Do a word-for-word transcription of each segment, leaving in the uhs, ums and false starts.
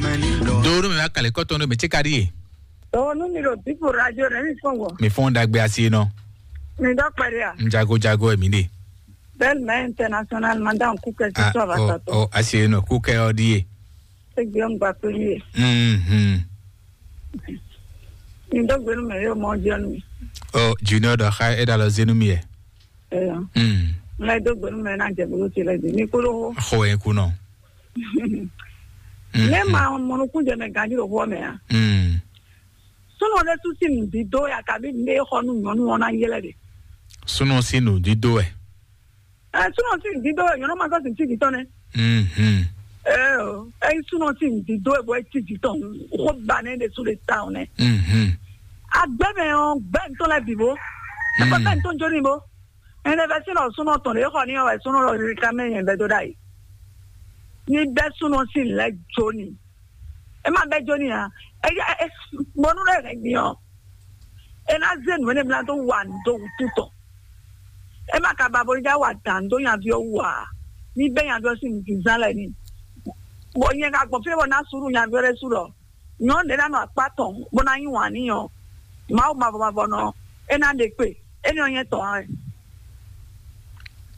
Do nú mi wá kalẹ̀ kɔtɔn nú mi tí ka ɖíe. Owó nú mi ɖo dípò radio rẹ̀ mi fɔn wɔ. Mi fɔn dagbe asi nɔ. Mi dɔ kpɛɖe a. N jago jago emi ɖe. Belle mɛ international madame kúkẹ́ sí Ah, sọ àbá oh, sàtọ. Oh, asi nɔ kúkẹ́ ọ ɖíe. Ṣé gbé ń gba pé yé? Mhm. Mi dɔ gbénu mɛ yóò mọ jẹun mi. Oh, Junior dɔ xa e da lɔ zenu mi yɛ. Ẹyọ. Mm. Ŋlɛ dɔ gbénu mɛ náà jẹ bolo ti lẹ di. Mi kúrò hó. Xɔ yẹn kú nɔ. Ne ma mɔnukun jɛ mɛ ganji ɖo xɔ mɛ a? Mm. Súnɔ ɖé tún sí nǔdídó ya kabi ne xɔ nú nyɔnu ɔ́ ná yɛlɛ ɖe. Súnɔ sí nǔdídó wɛ. Ɛ súnɔ sí nǔdídó wɛ nyɔnu ma sɔ sí sí dítɔ nɛ. Mhm. Ɛ ɔ, ɛ súnɔ sí nǔdídó wɛ bɔ ɛ tí dítɔ xɔ ba ne ɖe sú ɖe ta ɔ nɛ. Mhm. Agbɛ mɛ ɔ gbɛ ntɔ lɛ bǐ bó. Ɛ kɔ gbɛ ntɔ jó ni bó. Ɛnɛ bɛ súnɔ súnɔ tɔn ɖe xɔ ni ɔ wɛ súnɔ lɔ rí ká mɛ yẹn bɛ dó ɖa yi. Ní bɛ súnɔ sí lɛ jó ni. E ma bɛ jó ni a. E ya e bɔnu ɖe hɛn gbinyɔ. E na ze nu ene bla do wa nu do wutu tɔn. E ma ka ba bo ja wa dan do nyaviɔ wu a. Ni bɛ nyaviɔ si nu zan lɛ ni. Bɔ nyɛ ka gbɔn fi bɔ na suru nyaviɔ ɖe su lɔ. Nyɔ ɖe na nɔ akpa tɔn bo na nyi wan ni nyɔ. Mawu mavɔ mavɔ nɔ. E na ɖe kpe. E ni ɔ nyɛ tɔn a.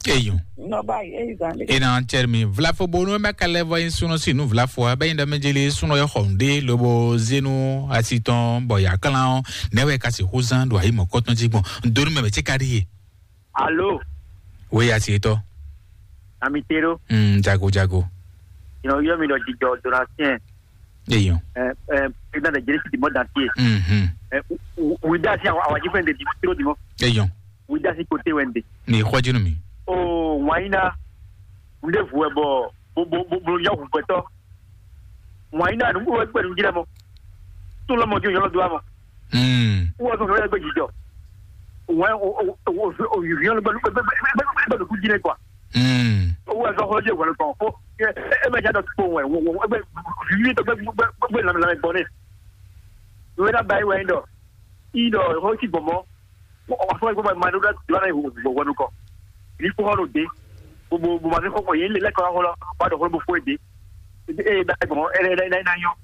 Eyo. Nɔ ba yi e yi zan de. Ena cɛrɛ mi vlafo bonu mɛ kalɛ vɔ yin suno si nu vlafo a bɛ yin dɔ mɛ jeli suno yɛ xɔ nde lobo zenu asitɔn bɔ ya klan o nɛ wɛ kasi xuzan do ayi mɔ kɔtɔn ji gbɔn donu mɛ mɛ ti ka di ye. Alo. We asi etɔ. Ami tero. Mm, jago jago. Ina yɔ mi dɔ jijɔ donatien. Eyo. Eh, eh, président de jeli ti mɔ dantie. Mhm. Eh, u- u- u da si awa awa ji fɛn de di tiro di mɔ. Eyo. Wídásí koté wɛ ń ɖe. Ní xɔ jínú mi. Oo, wǎn yí ná. Nɖé vu wɛ bɔ bo bo bo bo yɔ hùgbɛtɔ. Wǎn yí ná nǔgbó wɛ gbɛnu jí lɛ mɔ. Tún lɔmɔ jí òyìnbó dó àmọ́. Mm. Wọ́n sọ fún ẹgbẹ́ jíjọ. Wọ́n o o o o yìí yọ́n gbẹ́nu gbẹ́nu gbẹ́nu gbẹ́nu kú jí lẹ́ kọ́. Mm. Owó ẹ̀sọ́ fún ọjọ́ ìwọ̀n kan fún ẹ ẹ mẹ́ta dọ̀ tó wẹ̀ wọ́n wọ́n ẹgbẹ́ yìí tó gbẹ́ gbẹ́ gbẹ́ làmì làmì gbọ́n ní. Ìwé náà báyìí wẹ̀ ń dọ̀. Ìdọ̀ ó sì gbọ̀n mọ́. Wọ́n fún ẹgbẹ́ máa dúró láti lọ́nà ìwọ̀n nukọ. Ní fún ọ̀rọ̀ dé. Gbogbo gbogbo àti kọ́kọ́ yìí lè lẹ́kọ̀ọ́ ọ̀hún lọ. Wọ́n á dọ̀ fún gbogbo èdè. Ee da gbọ̀n ẹ ẹ ẹ yan.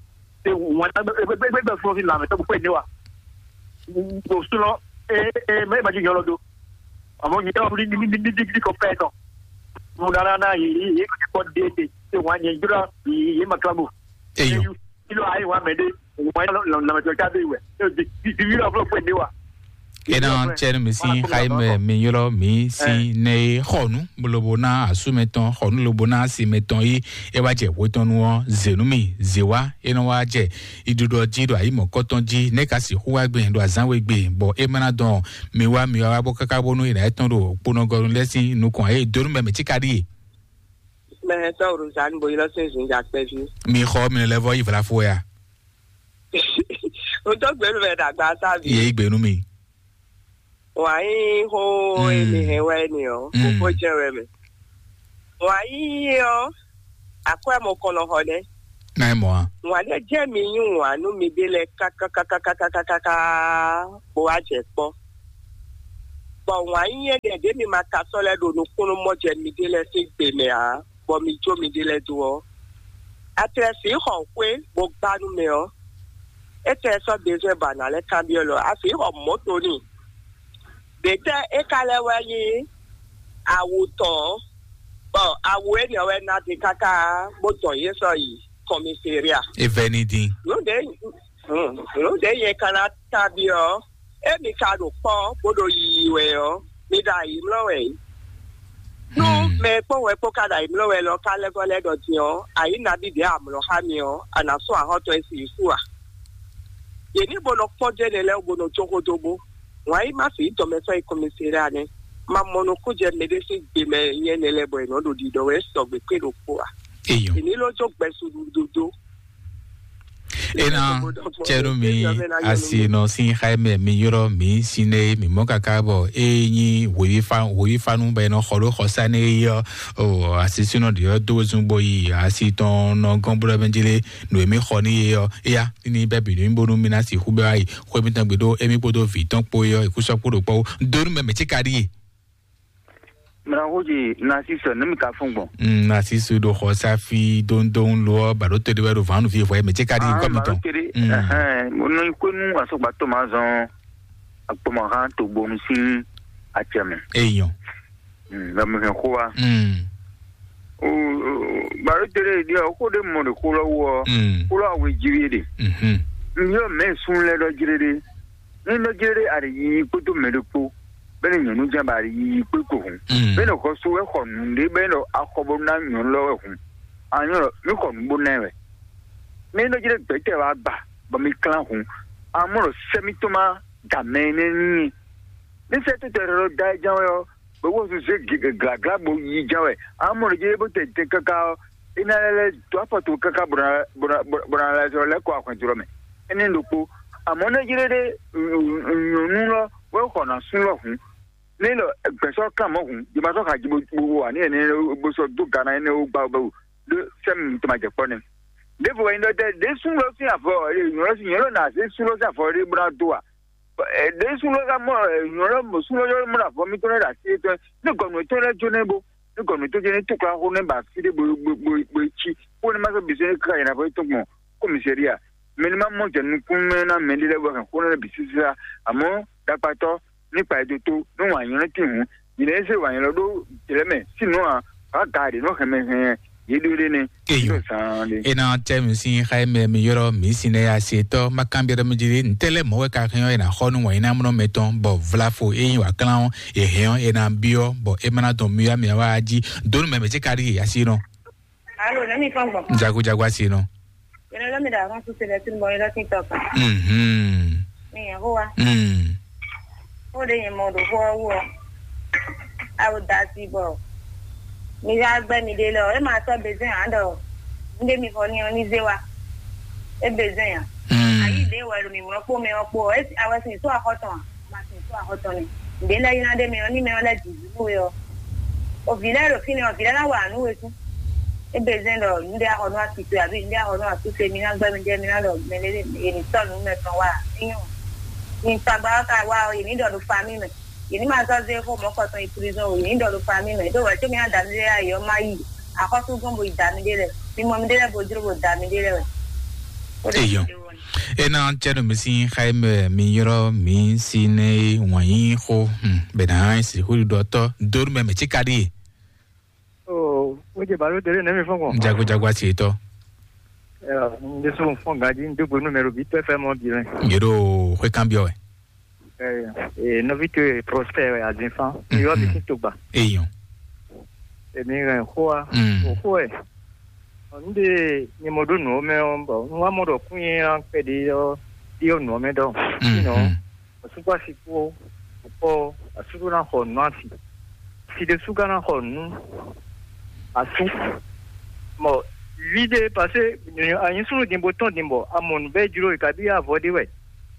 Ṣé wọ́n á gbẹgbẹgbẹ fún ọ̀sìn làmì tó gbogbo èdè wa. Kò sún lọ. Ee ee mẹ́rin bá jẹ́ yọ lọ́dọ̀. Àmọ́ yìí táwọn ní ní ní ní ní kò pẹ́ tán. Mo dára náà yìí yìí kò ní kọ́ déédéé. Ṣé wọ́n á yẹn jura yìí yìí màkàbò. Eyò. Kí ló ayé wa mẹ́dé? Wọ́n á yẹn lọ́mọdé ọjà dé ìwẹ̀. Di di di yìí lọ́wọ́ pé ní wa. Ena cɛn mi si xayi mɛ mi yɔrɔ mi si ne xɔnu lobo na asu mɛ tɔn xɔnu lobo na asi mɛ tɔn yi e wa jɛ wetɔnu ɔ zenu mi zewa e nɔ wa jɛ iɖuɖɔ ji ɖo ayi mɔkɔtɔn ji ne ka si xu wa gbe ɖo azan we gbe bɔ e mana dɔn mi wa mi wa bɔ kaka bonu ina etɔn ɖo kponɔgɔnu lɛ si nukɔn ayi donu mɛ mi ti ka ɖi ye. Mɛ tɔ Rosanne bo yi lɔ sin zun ja kpɛvi. Mi xɔ mi lɛ vɔ yi vlafo ya. O tɔ gbɛnu mɛ dagba sa bi. Ye yi gbɛnu mi. Wǎn yíyí xó e mi hɛn wɛ ni ɔ́, xóxó jɛ wɛ mɛ. Wǎn yíyí ɔ́, akwɛ́ mɔ kɔn nɔ xɔ nɛ́. Ná é mɔ a? Wǎn ɖé jɛ mi yí wǎn nú miɖée lɛ́ɛ kákákákákákáká bó wá jɛ kpɔ́. Bɔ wǎn yíyí énɛ́ ɖě mi ma ka sɔ́ lɛ́ ɖo nukúnnú mɔ jɛ miɖée lɛ́ɛ sín gbe mɛ ǎ, bɔ mi jó miɖée lɛ́ɛ dó ɔ́, a tlɛ sǐ xɔ xwé bó gbá nú mɛ ɔ́, é tlɛ sɔ́ bezwɛ́n ba nǎ lɛ́ kanbyɔ́ lɔ, a sǐ xɔ mɔ̌to n'i. Ɖětɛ́ é ka lɛ́ wɛ nyí awu tɔn ɔ́, bɔ awu énɛ́ wɛ ná din káká bó dɔn yě sɔ́ yi kɔmiseria. E vɛ ní dín. Nǔ ɖě nǔ ɖě nyɛ ka ná kanbyɔ́ ɔ́, émi ka ɖo kpɔ́ bó ɖo yiyi wɛ ɔ́, mi ɖo ayǐmlɔ́ wɛ. Nú mɛ e kpɔ́n wɛ kpó ka ɖo ayǐmlɔ́ wɛ lɔ ka lɛ́ vɔ lɛ́ ɖɔ din ɔ́, ayǐ nabí ɖě amlɔ xá mi ɔ́, a nǎ sɔ́ axɔ́tɔ́ e si Yusu a? Yě ní bo nɔ kpɔ́n dó énɛ́ lɛ́ɛ wú bo nɔ jó xó dó bó. Wǎn yí má fi tɔn mɛ sɔ́ yi kɔnmɛsɛ́ ɖé ane. Ma mɔ nukún jɛ mɛɖé sín gbe mɛ nyɛ nɛ lɛ́ɛ bɔ è nɔ ɖo ɖiɖɔ wɛ sɔgbe kpé ɖokpó a? Eyɔn. È ní ló jó gbɛsu ɖuɖu dó. Ena cɛnu mi asi nɔ sin xaimɛ mi yɔrɔ mi sin ne mi mɔ kaka bɔ e nyi wòyifanu bɛ nɔ xɔ ɖo xɔsa ne yɔ o asi sinɔ ɖe yɔ do zun bo yi asi tɔn nɔ gɔn blo mɛ jele nu emi xɔ ni ye yɔ eya ni bɛ bi nu bonu mi na si xu bɛ ayi xɔ emi tɔn gbe ɖo emi kpodo vi tɔn kpo yɔ ikusɔ kpo ɖo kpɔ donu mɛ mɛ ti ka ɖi ye. Mla xódzi Narcisse, ne mi ka fún gbɔn. Mm, Narcisse ɖo xɔ safi dóńdóń lo ɔ, baɖo to ɖe wɛ ɖo vǎnu fi vɔ mɛ tse ka ɖi nkɔ mi tɔn. Tere, Mm. Ɛhɛn, mo nɔ yi kó nú asɔgbatɔ ma zɔn akpɔmɔhan to gbonu sín acɛ mɛ. Eyɔn. Mm, lɔ mi hɛn xó wa. Mm. O, o, baɖo tere ɖi ɔ, xó ɖe mɔ ɖe xó lɔ wɔ, Mm. Xó lɔ awe jí wi ɖe. Mhm. N yɔ mɛ sun lɛ ɖɔ jire ɖe. Ní nɔ jɛ ɖe ali yiyi kpódó mɛ ɖokpó, bɛ́ ní nyɔ̌nu ján ba ali yiyi kpé kpo hǔn. Mm. Bɛ́ ní xɔ sú wɛ xɔ nǔɖé bɛ́ ní ɖɔ axɔ bó ná nyɔ̌nu lɔ wɛ hǔn. Anyɔ́ ɖɔ mí xɔ nǔ bó ná ɛ wɛ. Ní nɔ jɛ ɖe gbɛ̌tɛ́ wá gba, bɔ mi klán hǔn. Amɔ́ ɖɔ sɛ́ mítɔn má da mɛ énɛ́ n'i. Ní sɛ́ tó tɛ ɖɔ da ɛ ján wɛ ɔ́, bɔ wó zé glagla bó yi ján wɛ. Amɔ́ ɖɔ jɛ bó tɛ tɛ káká ɔ́, é ná lɛ́ lɛ́ dó afɔ tó káká bó ná bó ná bó ná lɛ́ zɔ lɛ́ kɔ ahwɛn jlɔ́ mɛ. Énɛ́ ɖokpó. Amɔ̌ nɛ́ jlé ɖé nyɔ̌nu lɔ wɛ xɔ ná sú lɔ hǔn. Nɛ́ lɔ gbɛ̌sɔ́ kan mɔ̌ hǔn, jɛ ma sɔ́ xa jí bó bó wa ní ɛnɛ bó sɔ́ dó gana énɛ́ wó gbá bó ɖó sɛ́mi tɔn ma jɛ kpɔ́ nɛ́. Ɖěvo wɛ nyí ɖɔ tɛ ɖě sú lɔ sín avɔ nyɔ̌nu lɔ sín nyɔ̌nu lɔ ná zé sú lɔ sín avɔ ɖé bó ná dó a? Ɖě sú lɔ ka mɔ nyɔ̌nu lɔ mɔ sú lɔ yɔ́ mɔ avɔ mitɔn lɛ́ ɖo así étɔn ní gɔnu étɔn lɛ́ jó nɛ́ bó ní gɔnu étɔn jɛ ní túkla xó nɛ́ ba fí ɖé bó bó bó bó cí kó ní ma sɔ́ bǐ sɛ́ ní ká yɛn avɔ étɔn gbɔn kɔ́misɛ́ria. Mɛ ní ma mɔ jɛ nukún mɛ ná mɛ ɖé lɛ́ɛ bɔ hɛn xó nɛ́ bǐ sísá. Amɔ́ ɖakpatɔ́ ní kpa ɛ dó tó ní wǎn nyɔ́ nɛ́ tín hǔn. Nyɛ lɛ́ɛ zé wǎn nyɔ́ ɖó jlɛ̌ mɛ sínú a wǎ ga ɖě nɔ hɛn mɛ hɛn yě ɖó ɖé nɛ́. Eyo. Ɖó zaan ɖé. Ena tɛ mi sin xa mɛ mi yɔrɔ mi sin ne ya se tɔ ma kan biɛ mi jiri ntɛlɛ mɔ wɛ ka hɛn ɔ ena xɔ nu wɔ ina mɔ mɛ tɔn bɔ vlafo eyin wa klan ɔ e hɛn ɔ ena biɔ bɔ e mana dɔn mi ya mi wa ji donu mɛ mɛ ti kari asi nɔ. Alo, ne mi fɔn gbɔn. Jago jago asi nɔ. Yɛrɛ lɔ mi da kan su sɛbɛ tun bɔ yɛrɛ tin tɔ kan. Mhm. Mi yɛn ho wa. Mm. Ko de yɛn mɔ do ho wo. Awo da si bɔ. Mi ya gbɛ mi de lɔ, e ma sɔ bezin an dɔ. Nde mi fɔ ni ɔ ni ze wa. E bezin ya. Mm. Ayi de wɛ lo mi wɔ kpo mɛ ɔ kpo. E awɛ sin so akɔtɔn. Ma sin so akɔtɔn ni. Nde lɛ yina de mi ɔ ni mɛ ɔ lɛ di zu we ɔ. O vi lɛ ɖo fínɛ́ ɔ, vi lɛ ná wa nǔ we kú. Ébé zɛ́n ɖɔ nǔɖé axɔ nú asitwe abǐ nǔɖé axɔ nú asúse, mi ná gbɛ́ mi jɛ mi ná ɖɔ mɛ lé yě ní sɔ́ nǔ mɛ tɔn wá. Ényɔ́, mi tagba ɔ́ ka wá ɔ́, yě ní ɖɔ ɖo famí mɛ. Yě ní ma zɔ́ zé xó mɔ̌kɔtɔn yi prizɔ́n o, yě ní ɖɔ ɖo famí mɛ. Ɖó wɛ̌ có mi ná da mi ɖé ayǐ ɔ́, má yi axɔ́súgbɔ́n bo yi da mi ɖé lɛ́ɛ. Mi mɔ mi ɖé lɛ́ɛ bo jló bo da mi ɖé lɛ́ɛ wɛ. Ó ɖe Eyɔ́. Ena tsɛnu mi sin xayi mɛ mi yrɔ mi si ne wɔnyi xo. Hmm, bena si xo ɖɔ tɔ donu mɛ mɛ tsika ɖi. Oh, wodze balo dele ne mi fɔn kɔ. Jago jago asi tɔ. Ndesu fɔn gaji ndo gbonu mɛ robi tɔ fɛ mɔ bi lɛ. Yero xwe kan biɔ. Eh, eh, nɔvi to Prosper wɛ azin fan. Yɔ mi sin to gba. Eyɔn. Èmi hɛn xó wa. Mm. Òxó ẹ̀. Ǹdè nyɛmɔɖó nǔ ɔ́ mɛ ɔ́, bɔ un wá mɔ ɖɔ kún nyi kpɛɖé ɔ́, ɖí ɔ́ nǔ ɔ́ mɛ ɖɔ. Sinɔ, asúkpó asi kpó, kpɔ́, asú ɖó ná xɔ nǔ asi. Si ɖésú ka ná xɔ nǔ asú. Mɔ, vi ɖé, parce que anyi súnnu din bó tɔn din bɔ, a mɔ nǔ bɛ́ jló, e kabi avɔ ɖé wɛ.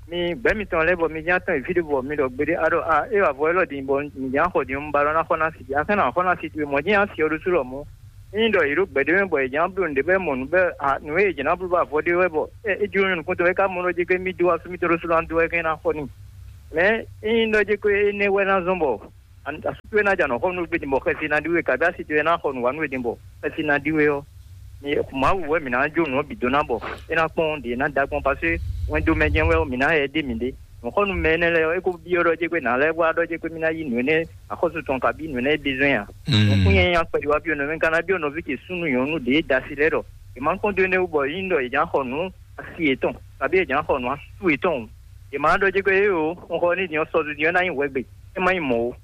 Mi gbɛ̌ mitɔn lɛ́ɛ bɔ mi ján tɔn yi fí ɖé bɔ mi ɖɔ gbeɖé a ɖɔ a é avɔ élɔ́ din bɔ mi ján xɔ din un ba lɔ ná xɔ ná si a kɛn ná xɔ ná si towe mɔ̌ jɛ́n a si ɔ ɖo sú lɔ mɔ̌. Ényí ɖɔ yě ɖo gbɛ̌ ɖé mɛ bɔ yě ján bló nǔɖé bɔ é mɔ nǔ bɛ́ a nǔ e yě ján ná bló bɔ avɔ ɖé wɛ bɔ é é jló nyɔ̌nu kúntɔn é ká mɔ ɖɔ jɛ gbé mì dó asú mítɔn ɖó sú ná dó wɛ kɛn ná xɔ n'i. Mɛ ényí ɖɔ jɛ ko énɛ́ wɛ ná zɔ́n bɔ asú towe ná jɛ anɔ̌ xɔ nú gbé din bɔ xɛsi ná ɖi we kabi asi towe ná xɔ nǔ wa nú we din bɔ xɛsi ná ɖi we ɔ́. Mawu wɛ mǐ ná jó nǔ ɔ́ bǐ dó ná bɔ é ná kpɔ́n ɖě ná da gbɔn pasé wɛn dó mɛ jɛ́n wɛ ɔ́, mǐ ná yɛ ɖé mǐ ɖé. Nǔxɔnú mɛ énɛ́ lɛ́ɛ ɔ́, é ko byɔ́ ɖɔ jɛ́ gbé nǎ lɛ́ wá ɖɔ jɛ́ gbé mì ná yí nǔ énɛ́ axɔ́sú tɔn kabí nǔ énɛ́ é bezɔ́n nya. Nǔkún nyanya kpɛɖé wá byɔ́ nɔví ka ná byɔ́ nɔví ce súnnu nyɔ̌nu ɖě da asi lɛ́ɛ ɖɔ è ma kpɔ́n dó énɛ́ wú bɔ é nyí ɖɔ è jǎ xɔ nǔ asi yětɔn kabí è jǎ xɔ nǔ asú yětɔn o. È ma ɖɔ jɛ́ gbé é o, un xɔ ní din ɔ́ sɔzu din ɔ́ ná nyí hwɛgbe, é má nyí mɔ̌ o.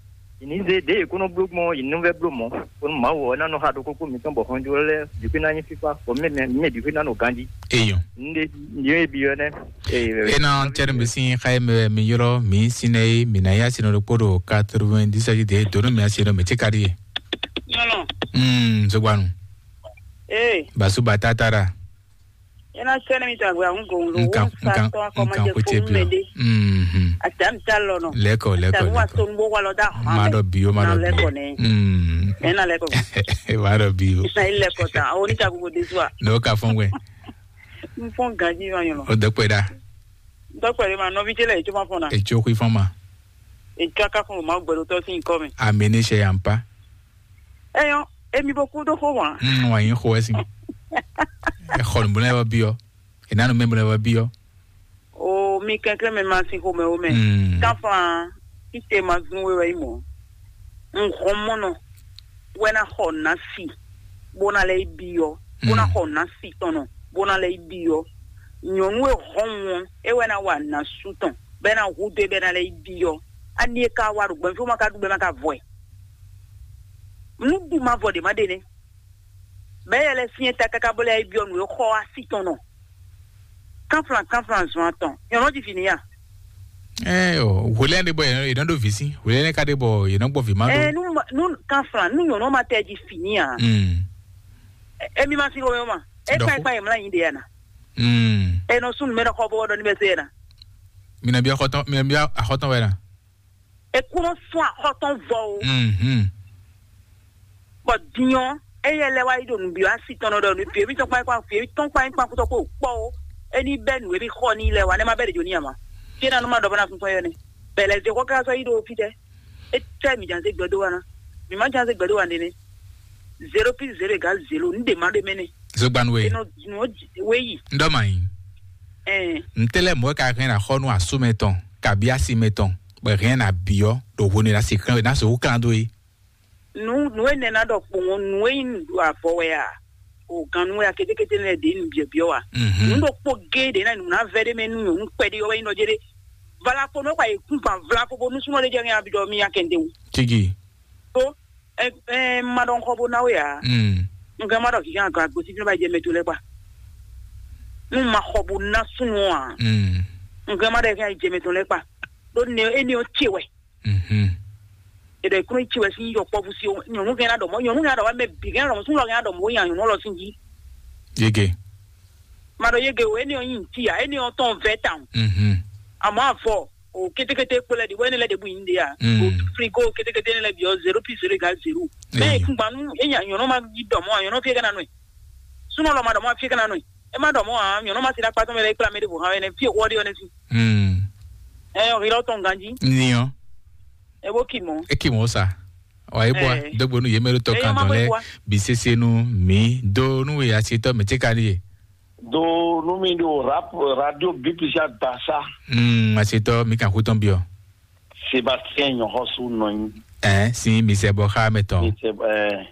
Yě ní zé ɖěe è kó nɔ bló gbɔn ɔ́, yě ní nɔ vɛ́ bló mɔ̌, bónú Mawu ɔ́ ná nɔ xa ɖokpókpó mǐtɔn bɔ hɔnjó lɛ́ɛ bǐ xwé ná nyí fífá, bɔ mɛ mɛ bǐ xwé ná nɔ ganjí. Eyɔn. Nde yé bi ɔ́ nɛ́. Ena tɛnu mi sin xayi mɛ mi yɔrɔ mi sin ne mi na ya sin ɖokpó ɖo quatre-vingt-dix de donu mi asi ɖo mi ti ka ɖi ye. Nyɔnɔ. Mm, zogbanu. Ee. Basuba tatara. Ena sɛnɛ mi tagbe ahun gɔn lo. Nkan nkan nkan ko tie bi. Mhm. Ata mi ta lɔ nɔ. Leko leko leko. Wa to nbo wa lɔ da. Ma do bi o ma do bi. Mm. Ena leko. Ma do bi o. Na ile ko ta. O ni ta ko de zwa. No ka fɔn gbe. N fɔn ganji ma yɔn. O dɔkpɛ da. Dɔkpɛ de ma nɔvi tele e to ma fɔn na. E tso kui fɔn ma. E tso aka fɔn ma gbɛdo tɔ sin kɔ mi. Amene se yampa. Eyɔn, emi bo kú dó xó hwan. Mm, wà yín xó ɛ sin. Ɛ xɔ nǔ bó lɛ́ wá byɔ́. È nǎ nǔ mɛ bó lɛ́ wá byɔ́. O mi kɛnklɛ́n mɛ ma sin xomɛ wo mɛ. Mm. Taflan, tite ma zun we wɛ yi mɔ. N hɔn mɔnɔ wɛ na xɔ na si bó na lɛ yi byɔ́, bó na xɔ na si tɔnɔ bó na lɛ yi byɔ́. Nyɔ̌nu e hɔn wɔn é wɛ na wa na su tɔn bɛ na hu do bɛ na lɛ yi byɔ́. Ani e ka wa ɖo gbɛn fí ma ka ɖu bɛ ma ka vɔ ɛ. Nu ɖu ma vɔ ɖe ma ɖe nɛ. Bɛ yɛ lɛ fiɛ ta kaka bɔ lɛ yi byɔ́ nu e xɔ asi tɔn nɔ. Kanflan kanflan zɔn atɔn. Nyɔnɔ ji fini ya. Ɛ o, hwelɛn ɖe bɔ yɛ nɔ ɖo visi. Hwelɛn ka ɖe bɔ yɛ nɔ gbɔ vi ma ɖo. Ɛ nu ma- nu kanflan nu nyɔnɔ ma tɛ ji fini ya. Mm. Emi ma si o ma. E Dɔfo. Kpa e kpa e mla yin de ya na. Mm. E nɔ sun mɛ nɔ xɔ bɔ dɔ ni bɛ se ya na. Mina bia xɔtɔn, mina bia axɔtɔn wɛ na. E kúrò fún axɔtɔn vɔ o. Mhm. Bɔ dinyɔ eyɛ lɛ wá yi ɖo nǔbyɔ́ asi tɔn nɔ ɖɔ nǔ fiewi tɔn kpán kpán fiewi tɔn kpán kpán kútɔ kó kpɔ o. Eni bɛ nǔ e bí xɔ ní lɛ wa ne ma bɛ ɖe jo ní ama. Fie na nu ma ɖɔ bɔ na fún fún yɔ ne. Bɛlɛ ze xɔ ká sɔ yi ɖo fi tɛ. E tɛ mi jan se gbɛdo wa na. Mi ma jan se gbɛdo wa ne ne. Zéro plus zéro égale zéro. N de ma ɖe mɛ ne. Zogbanu we. Enɔ nɔ we yi. N dɔ ma yi. Ɛn. N tɛ lɛ mɔ ka hɛn na xɔ nu asu mɛ tɔn kabi asi mɛ tɔn. Bɛ hɛn na biɔ ɖo hwenu la si kan na so kan do yi. Nu nu e nɛ na ɖɔ kpowɔn nu e nyi nu ɖo avɔ wɛ a? O gan nu wɛ a? Ketekete lɛ ɖe nu biɔ biɔ wa. Mhm. Nu ɖo kpo ge ɖe na nu na vɛ ɖe mɛ nu nyɔ nu kpɛ ɖe yɔ wɛ nyi nɔ jɛ ɖe. Vala ko nɔ kpa yi kun fan vla ko bo nu sunɔ ɖe jɛ ŋɛ abi ɖɔ mi ya kɛnde wu. Tigi. To ɛ ɛ ma ɖɔ nkɔ bo na we a? Mm. Nka ma ɖɔ kika nka gosi fi ba jɛ mɛ to lɛ kpa. Nu ma xɔ bo na sunɔ a? Mm. Nka ma ɖɔ kika jɛ mɛ to lɛ kpa. Ɖo ne e ne o tse wɛ. Mhm. Eɖɔ ekúnɔ tsi wɛ sín yɔ kpɔ́ fúsi o nyɔnu kɛ na ɖɔ mɔ nyɔnu kɛ na ɖɔ mɛ bi kɛ na ɖɔ mɔ súnlɔ kɛ na ɖɔ mɔ nya nyɔnu lɔ sín jí. Yege. Ma ɖɔ yege o eni ɔ nyi ntí ya eni ɔ tɔn vɛ tan. Mhm. Àmọ́ àfɔ o kétékété kpó lɛ di wɛ ne lɛ de bu yin de ya. Mm. O frigo kétékété ne lɛ bi ɔ zéro pi zéro égale zéro. Mɛ Eyi. Ekungbanu enya nyɔnu ma yi dɔ mɔ nyɔnu fie kɛ na nɔ ye. Súnlɔ ma ɖɔ mɔ fie kɛ na nɔ ye. E ma ɖɔ mɔ a nyɔnu ma si na kpatɔ mɛ lɛ kpla mɛ de bo hã wɛ ne fie wɔ de ɔ ne si. Mm. Ɛ ɔ hilɔ tɔn ganji. Niɔ. E bo ki mɔ. E ki mɔ sa. Wa e bɔ Eh. Dogbo nu ye mɛ ɖo tɔ Eya kan ma dɔn bo lɛ bua. Bi sese nu mi do nu we asitɔ mɛ tse ka ɖi ye. Do nu mi ɖo rap radio B P C dasa. Mm, asitɔ mi kan xutɔn biɔ. Sébastien Nyɔxɔsu nɔ nyi. Ɛ si mi sɛ bɔ xa mɛ tɔn. Mi sɛ ɛ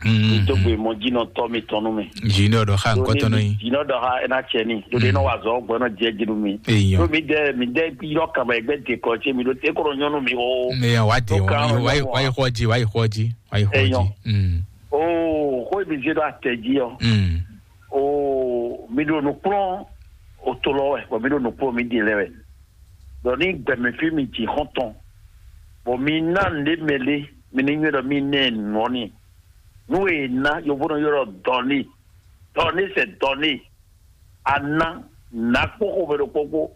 Mm, mi dogbo mɔ jinɔ tɔ mi tɔn nu mi. Junior dɔ xa nkɔtɔ nɔ nyi. Jinɔ dɔ xa ena cɛ ni. Do de nɔ wa zɔ gbɔ nɔ jɛ jinu mi. Eyɔn. Do mi dɛ mi dɛ yɔ kama egbe de kɔ ce mi do te kɔrɔ nyɔnu mi o. Ne yan wa de Do kan wa wa nyɔnu wa wa. Yi xɔ ji wa yi xɔ ji wa yi xɔ Eyɔn. Ji. Mm. O ko mi se do atɛ ji ɔ. Mm. O mi do nukplɔn o to lɔ wɛ bɔn mi do nukplɔn mi di lɛ wɛ. Dɔ ni gbɛmɛ fi mi ji xɔntɔn. Bɔn mi na nde mɛ le mi ni nyuɛ dɔ mi nɛ nɔ ni. Nu e ná yovónɔ yɔrɔ dɔni dɔni sɛ dɔni ana na kpó xomɛ ɖo kpókpó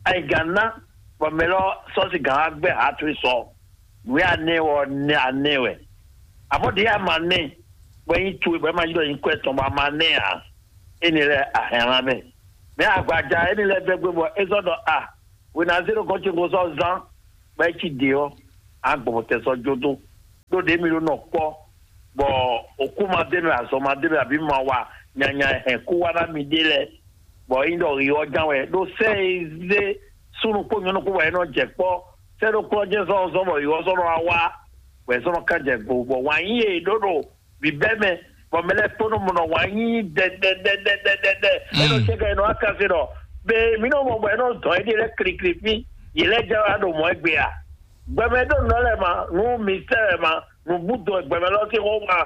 ayiga ná bɔ mɛ lɔ sɔsi gǎn wá gbɛ hatu sɔ nu ya nɛ wɔ nɛ anɛ wɛ amɔ ɖe ya ma nɛ bɔ nyi tu bɔ ma yi dɔ nyi kɔ etɔn bɔ a ma nɛ a eni lɛ ahɛn la mɛ mɛ agbaja eni lɛ bɛ gbé bɔ ezɔ dɔ a wena zero gɔn tsi ŋgɔ sɔ zan bɔ etsi de ɔ agbɔbɔtɛ sɔ jo do ɖó ɖe mi ɖo nɔ kpɔ bɔ òkú ma dé nɔ azɔ ma dé nɔ àbí ma wa nyanya hɛn kú wá ná mi ɖe lɛ bɔ yín ɖɔ yi ɔ ján wɛ ɖó sɛ e zé súnú kpó nyɔnú kpó wɛ é nɔ jɛ kpɔ sɛ ɖó kplɔ jɛ zɔn zɔn bɔ yi ɔ zɔn nɔ wá wá wɛ zɔn nɔ ká jɛ gbo bɔ wǎn yí e ɖó ɖo bǐbɛ́ mɛ bɔ mɛ lɛ́ɛ kpónɔ mɔ nɔ wǎn yí dɛdɛdɛdɛdɛdɛ é nɔ Mm. cɛ́ ká é nɔ wá káfí ɖɔ be mí nɔ mɔ bɔ é nɔ dɔn é ɖi lɛ́ɛ klikli fí yě lɛ́ɛ jɛ wá ɖo mɔ̌ égbé a gbɛmɛ ɖó nɔ lɛ ma nú mi sɛ lɛ ma nú bú dɔn gbɛmɛ lɔ sín xó ma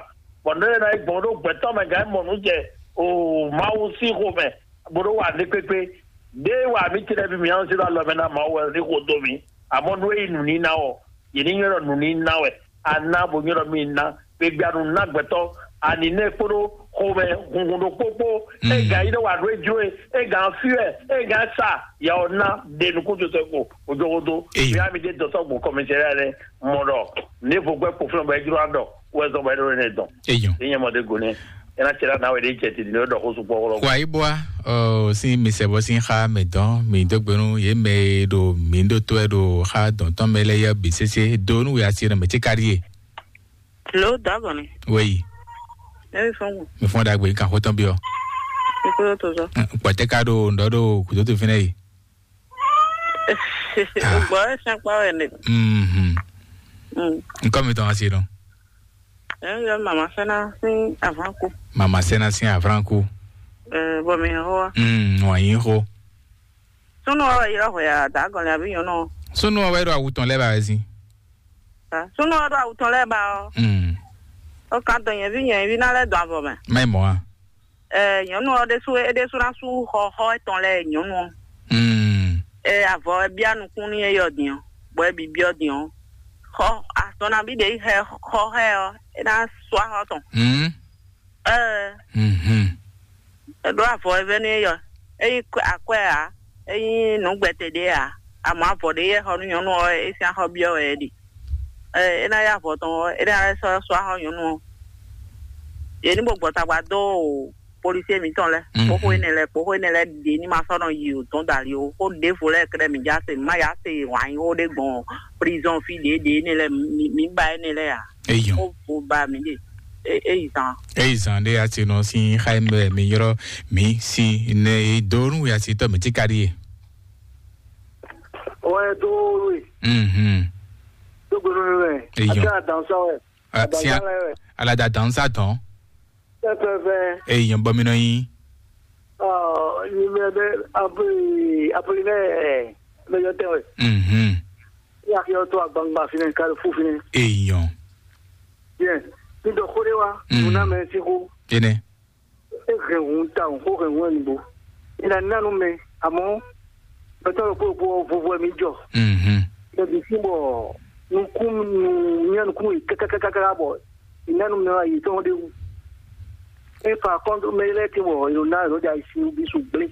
bɔ nɔ lɛ ná yi gbɔn ɖó gbɛtɔ́ mɛ gǎn mɔ nú jɛ o Mawu sín xó mɛ bó ɖó wa ní kpékpé ɖé wa mí tɛ́ bí mǐ nɔ zé ɖó alɔ mɛ ná Mawu wɛ ní xó dó mì amɔ̌ nú é yi nǔníná ɔ́ yě ní nywɛ́ ɖɔ nǔníná wɛ a ná bó nywɛ́ ɖɔ mí ná gbegbe anu ná gbɛtɔ́ ani nɛ kpódó xomɛ hunhun ɖokpó kpó Mm. Ega yi ɖe wà ɖó ejlo e ega fí wɛ ega sa yà ɔ ná ɖe nukúndutɔ ko ojogodo Eyo. Bia mi ɖe dɔtɔ gbɔ kɔmɛsɛri lɛ mɔ ɖɔ ne vo gbɛ kpo fún bɔ ejlo adɔ wɛ zɔn bɔ eɖo ne dɔn Eyo. Enyɛ mɔ de go ne ena tse la na wɛ de jɛ ti ne ɖɔ ko sukpɔ wɔlɔ Kwa yi bwa, o, si mi sɛ bɔ si xa mɛ dɔn mi do gbenu ye mɛ ɖo mi ɖo to ɛ ɖo xa dɔn tɔn mɛ lɛ yɛ bi sese do nu ya si mɛ tse kari ye. Lo dagɔnni. Wei. Emi fɔn. Mi fɔn dagbe kan xotɔn bi ɔ. Ikolo to zɔ. Kpɔtɛ ka ɖo ŋdɔ ɖo kudoto fínɛ yi. Gbɔ ɛ sɛn kpa wɛ ne. Mhm. Mm. Nkɔ mi tɔn asi dɔn. Ɛ yɔ mama sɛna sin avanku. Mama sɛna sin avranku. Ɛ bɔ mi ho wa. Mm, wa yin ho. Sunu ɔ yɔ hwe a dagɔnni abi nyɔnu. Sunu ɔ wɛ ɖo awu tɔn lɛ ba wɛ sin. Sunu ɔ ɖo awu tɔn lɛ ba ɔ. Mm. O kan dɔn nyɛvi nyɛvi na lɛ dɔn avɔ mɛ. Mɛ mɔ a. Ɛ nyɔnu ɔ ɖésú é ɖésú ná sú xɔxɔ etɔn lɛ nyɔnu ɔ. Mm. Ɛ avɔ ɛ bia nukún ní eyɔ din ɔ, bɔ ɛ bi biɔ din ɔ. Xɔ azɔn nabí ɖe yi xɛ xɔ xɛ ɔ, é ná sú axɔ tɔn. Mm. Ɛ Mhm. È ɖó avɔ e vɛ́ nú éyɔ. É nyí akwɛ́ ǎ, é nyí nǔgbɛtɛ́ ɖé ǎ. Amɔ̌ avɔ ɖé yɛ xɔ nú nyɔ̌nu ɔ́, é sín axɔ byɔ́ wɛ é ɖe. Ɛ é ná yá avɔ tɔn ɔ́, é ná lɛ́ sɔ́ sɔ́ axɔ nyɔ̌nu ɔ́. Yě ní bó gbɔ tagba dó policier mǐtɔn lɛ́ɛ, Mhm. kpóxó énɛ́ lɛ́ɛ, kpóxó énɛ́ lɛ́ɛ ɖě ní ma sɔ́ nɔ yi o dɔn dali o. Xó ɖěvo lɛ́ɛ kɛ́ɖɛ́ mǐ já se, mǐ má yá se wǎn nyí xó ɖé gbɔn prison fí ɖě ɖě énɛ́ lɛ́ɛ, mǐ mǐ ba énɛ́ lɛ́ɛ ǎ. Eyɔn. Ó bo ba mǐ ɖe. É é yi zan. Eyi zan ɖe atinɔ sin xa mi ylɔ mi si ne e do nu ya si tɔ mi ti ka ɖi ye. Wɛ do we. Mhm. Do gbenu mi wɛ. Eyɔn. Ati adansa wɛ. Ah, si Adansa lɛ wɛ. Alada dansa tɔn. Pɛpɛpɛ. Eyɔn bɔ mi nɔ yin. Ɔ, numéro deux, Apoli, Apoli lɛ, ɛ, mɛ yɔ tɛ wɛ. Mhm. Ya ki yɔ to agbangba finɛ, kali fu finɛ. Eyɔn. Bien. Mi dɔ xó ɖé wa, Mm. Nuna mɛ si xó. Ene. E hɛn hun ta, xó hɛn hun ɛnugbo. E na na nu mɛ, amɔ, pɛtɔ ɖokpó ɖokpó ɔ, vovo wɛ mi jɔ. Mhm. Mɛ bi si bɔ nukún nu, nya nukún yi kákákáká bɔ e na nu mɛ wa yi tɔn ɖe wu. E fa kɔntu mɛ lɛ ke bɔ e na e nɔ ɖe ayi si bi su gblé.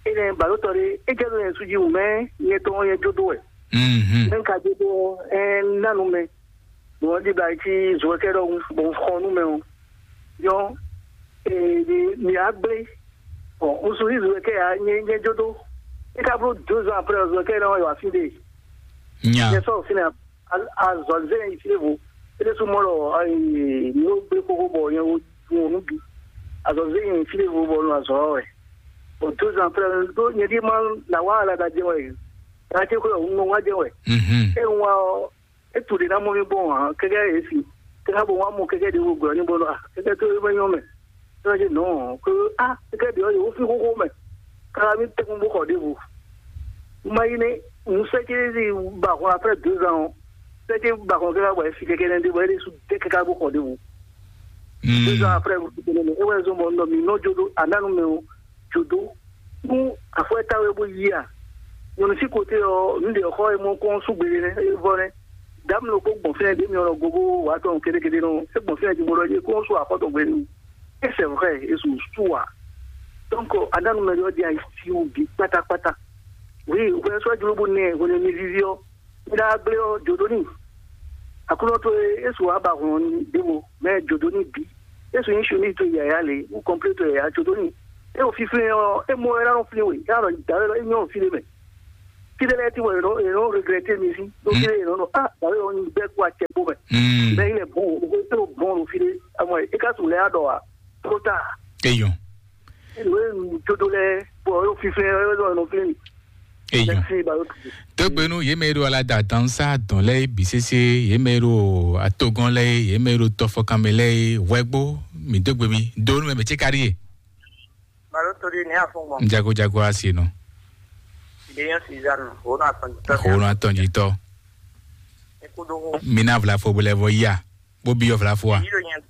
Enɛ balotɔ ɖe, e jɛ ɖo yɛn su ji wumɛ, nyɛ tɔn nyɛ jó dó wɛ. Mhm. Mɛ ka jó dó ɛ na nu mɛ. Bɔn di ba ti zɔkɛ ɖɔ bɔn xɔ nu mɛ o. Yɔ e mi a gblé. Bɔn un su yi zɔkɛ ya nyɛ nyɛ jó dó. E ka bló deux ans après zɔkɛ na yɔ afi de. Nya. Nyɛ sɔ fina azɔlzɛ yi fie vo. E de su mɔ lɔ ayi no gbe koko bɔ nyɛ wo wo nu bi. Azɔlzɛ yi fie vo bɔ nu azɔ wɛ. Bɔn deux ans après do nyɛ di ma na wa ala da jɛ wɛ. Ati ko un wa jɛ wɛ. Mhm. E wa e tu de na mɔ mi bɔ wa kɛkɛ e si. Kɛkɛ bo wa mɔ kɛkɛ de wo gbɔ ni bɔ no a kɛkɛ to e bɛ nyɔ mɛ. Tɔn dzi nɔ ko a kɛkɛ de ɔ yɛ wo fi xoxo mɛ. Kala mi tɛkun bo xɔ de vo. Ma yi ne un sɛ ke di ba xɔ après deux ans. Sɛ ke ba xɔ kɛkɛ bɔ e fi kɛkɛ ne de bɔ e de su de kɛkɛ bo xɔ de vo. Mm. Deux ans après, e wɛ zɔn bɔ nɔ mi nɔ jo do ananu mɛ o jo do. Nu afɔ ta wɛ bo yi a. Nyɔnu si kote ɔ, nu de xɔ e mɔ kɔn su gbede nɛ, e vɔ nɛ. Dame lo ko gbɔn fɛn de mi ɔ gogo wa tɔn kede kede nɔ. E gbɔn fɛn di mo lɔ je ko su afɔ tɔn gbede. E c'est vrai, e su su wa. Donc ananu mɛ yɔ di ayi si o bi kpata kpata. Oui, o fɛ sɔ jlo bo nɛ, o ne mi vivi ɔ. Nda gblé ɔ́, jǒdó n'i. Aklúnɔ towe, é su wǎ ba hlɔn ɖěvo, mɛ jǒdó n'i bǐ. É su nyí chemise towe yǎyá lě, wú kɔnplé towe yǎyá jǒdó n'i. É ɖo fínfín ɔ́, é mɔ ɛ ná nɔ flín we, é ná nɔ dǎwe lɔ, é nyɔ́ fí ɖé mɛ. Fí ɖé lɛ́ɛ tí wɔ è nɔ è nɔ regrɛté mi sí, ɖó fí ɖé è nɔ nɔ á dǎwe lɔ nyi bɛ́ kó acɛ kpó mɛ. Bɛ́ yi lɛ bɔn o, é ɖo bɔn ɖo fí ɖé, amɔ é ka su lɛ́ á ɖɔ ǎ, tló ta. Eyɔn. Nǔ e un jó dó lɛ́ɛ, bɔ é ɖo fínfín ɛ, é ɖɔ nɔ flín mì. Eyɔn. Mɛsí ba ɖó tutu. Tógbénu yě mɛ e ɖo alada dansa dɔn lɛ́ɛ bǐ sésé, yě mɛ e ɖo atogɔn lɛ́ɛ, yě mɛ e ɖo tɔfɔkanmɛ lɛ́ɛ, hwɛgbo mǐ dó gbe mi dó nú mɛ mɛ ce ka ɖíe. Balo to ɖi ní afɔngbɔn. Jago jago asi nɔ. Ìdè yẹn Suzanne, òun náà tọ́jú tọ́. Òun náà tọ́jú tọ́. Ikú dó hó. Mi ná vlafo bó lɛ vɔ yá, bó bí yọ vlafo wa. Yìí ló yẹn,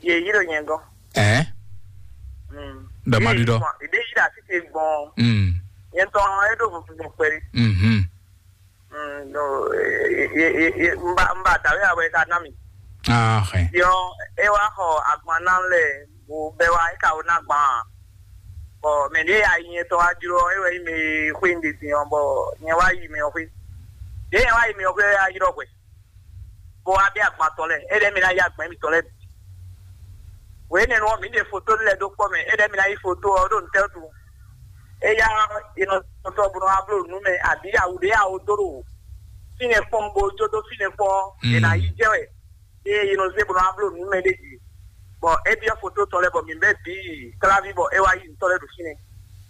yìí ló yẹn gan. Ẹ́. Dɔ ma ɖi dɔ. Ìdè yìí là ti ṣe gbọ́n. Yẹn tán ẹ dó funfun gbọ́n pẹ́rẹ́. Mhm. Mba mba dàwé àwẹ̀ ká ná mi. Ah, xɛ. Yɔ, ẹ wá xɔ agban ná lẹ̀, bó bẹ́ wá, ẹ ká wó ná gbọ́n. Bɔ mɛ ɖé ayi nyɛ tɔn wá jló, ɛ wɛ nyí mɛ xwé un ɖe din ɔ́, bɔ nyɛ wá yi mɛ ɔ́ xwé. Ɖě nyɛ wá yi mɛ ɔ́ xwé ɔ́, é wá ylɔ́ hwɛ, bó wá bɛ́ agban tɔn lɛ́ɛ, é ɖɛ́ mì ná yí agban émítɔn lɛ́ɛ bǐ. Wěnɛnu ɔ́, mǐ ɖe foto lɛ́ɛ ɖó kpɔ́ mɛ, é ɖɛ́ mì ná yí foto ɔ́ ɖó ntɛ́ wútu? Éyá è nɔ sɔsɔ bó nɔ wá bló nǔ mɛ, abǐ awu ɖě awo dó ɖo fínɛ́ kpɔ́n bó jó dó fínɛ́ kpɔ́n ɔ́, è nǎ yí jɛ wɛ. Ée yi nɔ zé bó nɔ wá bló nǔ mɛ ɖé jí. Bɔ é byɔ́ foto tɔn lɛ́ɛ bɔ mǐ bɛ́ bǐ kláví bɔ é wá yí nǔ tɔn lɛ́ɛ ɖo fínɛ́.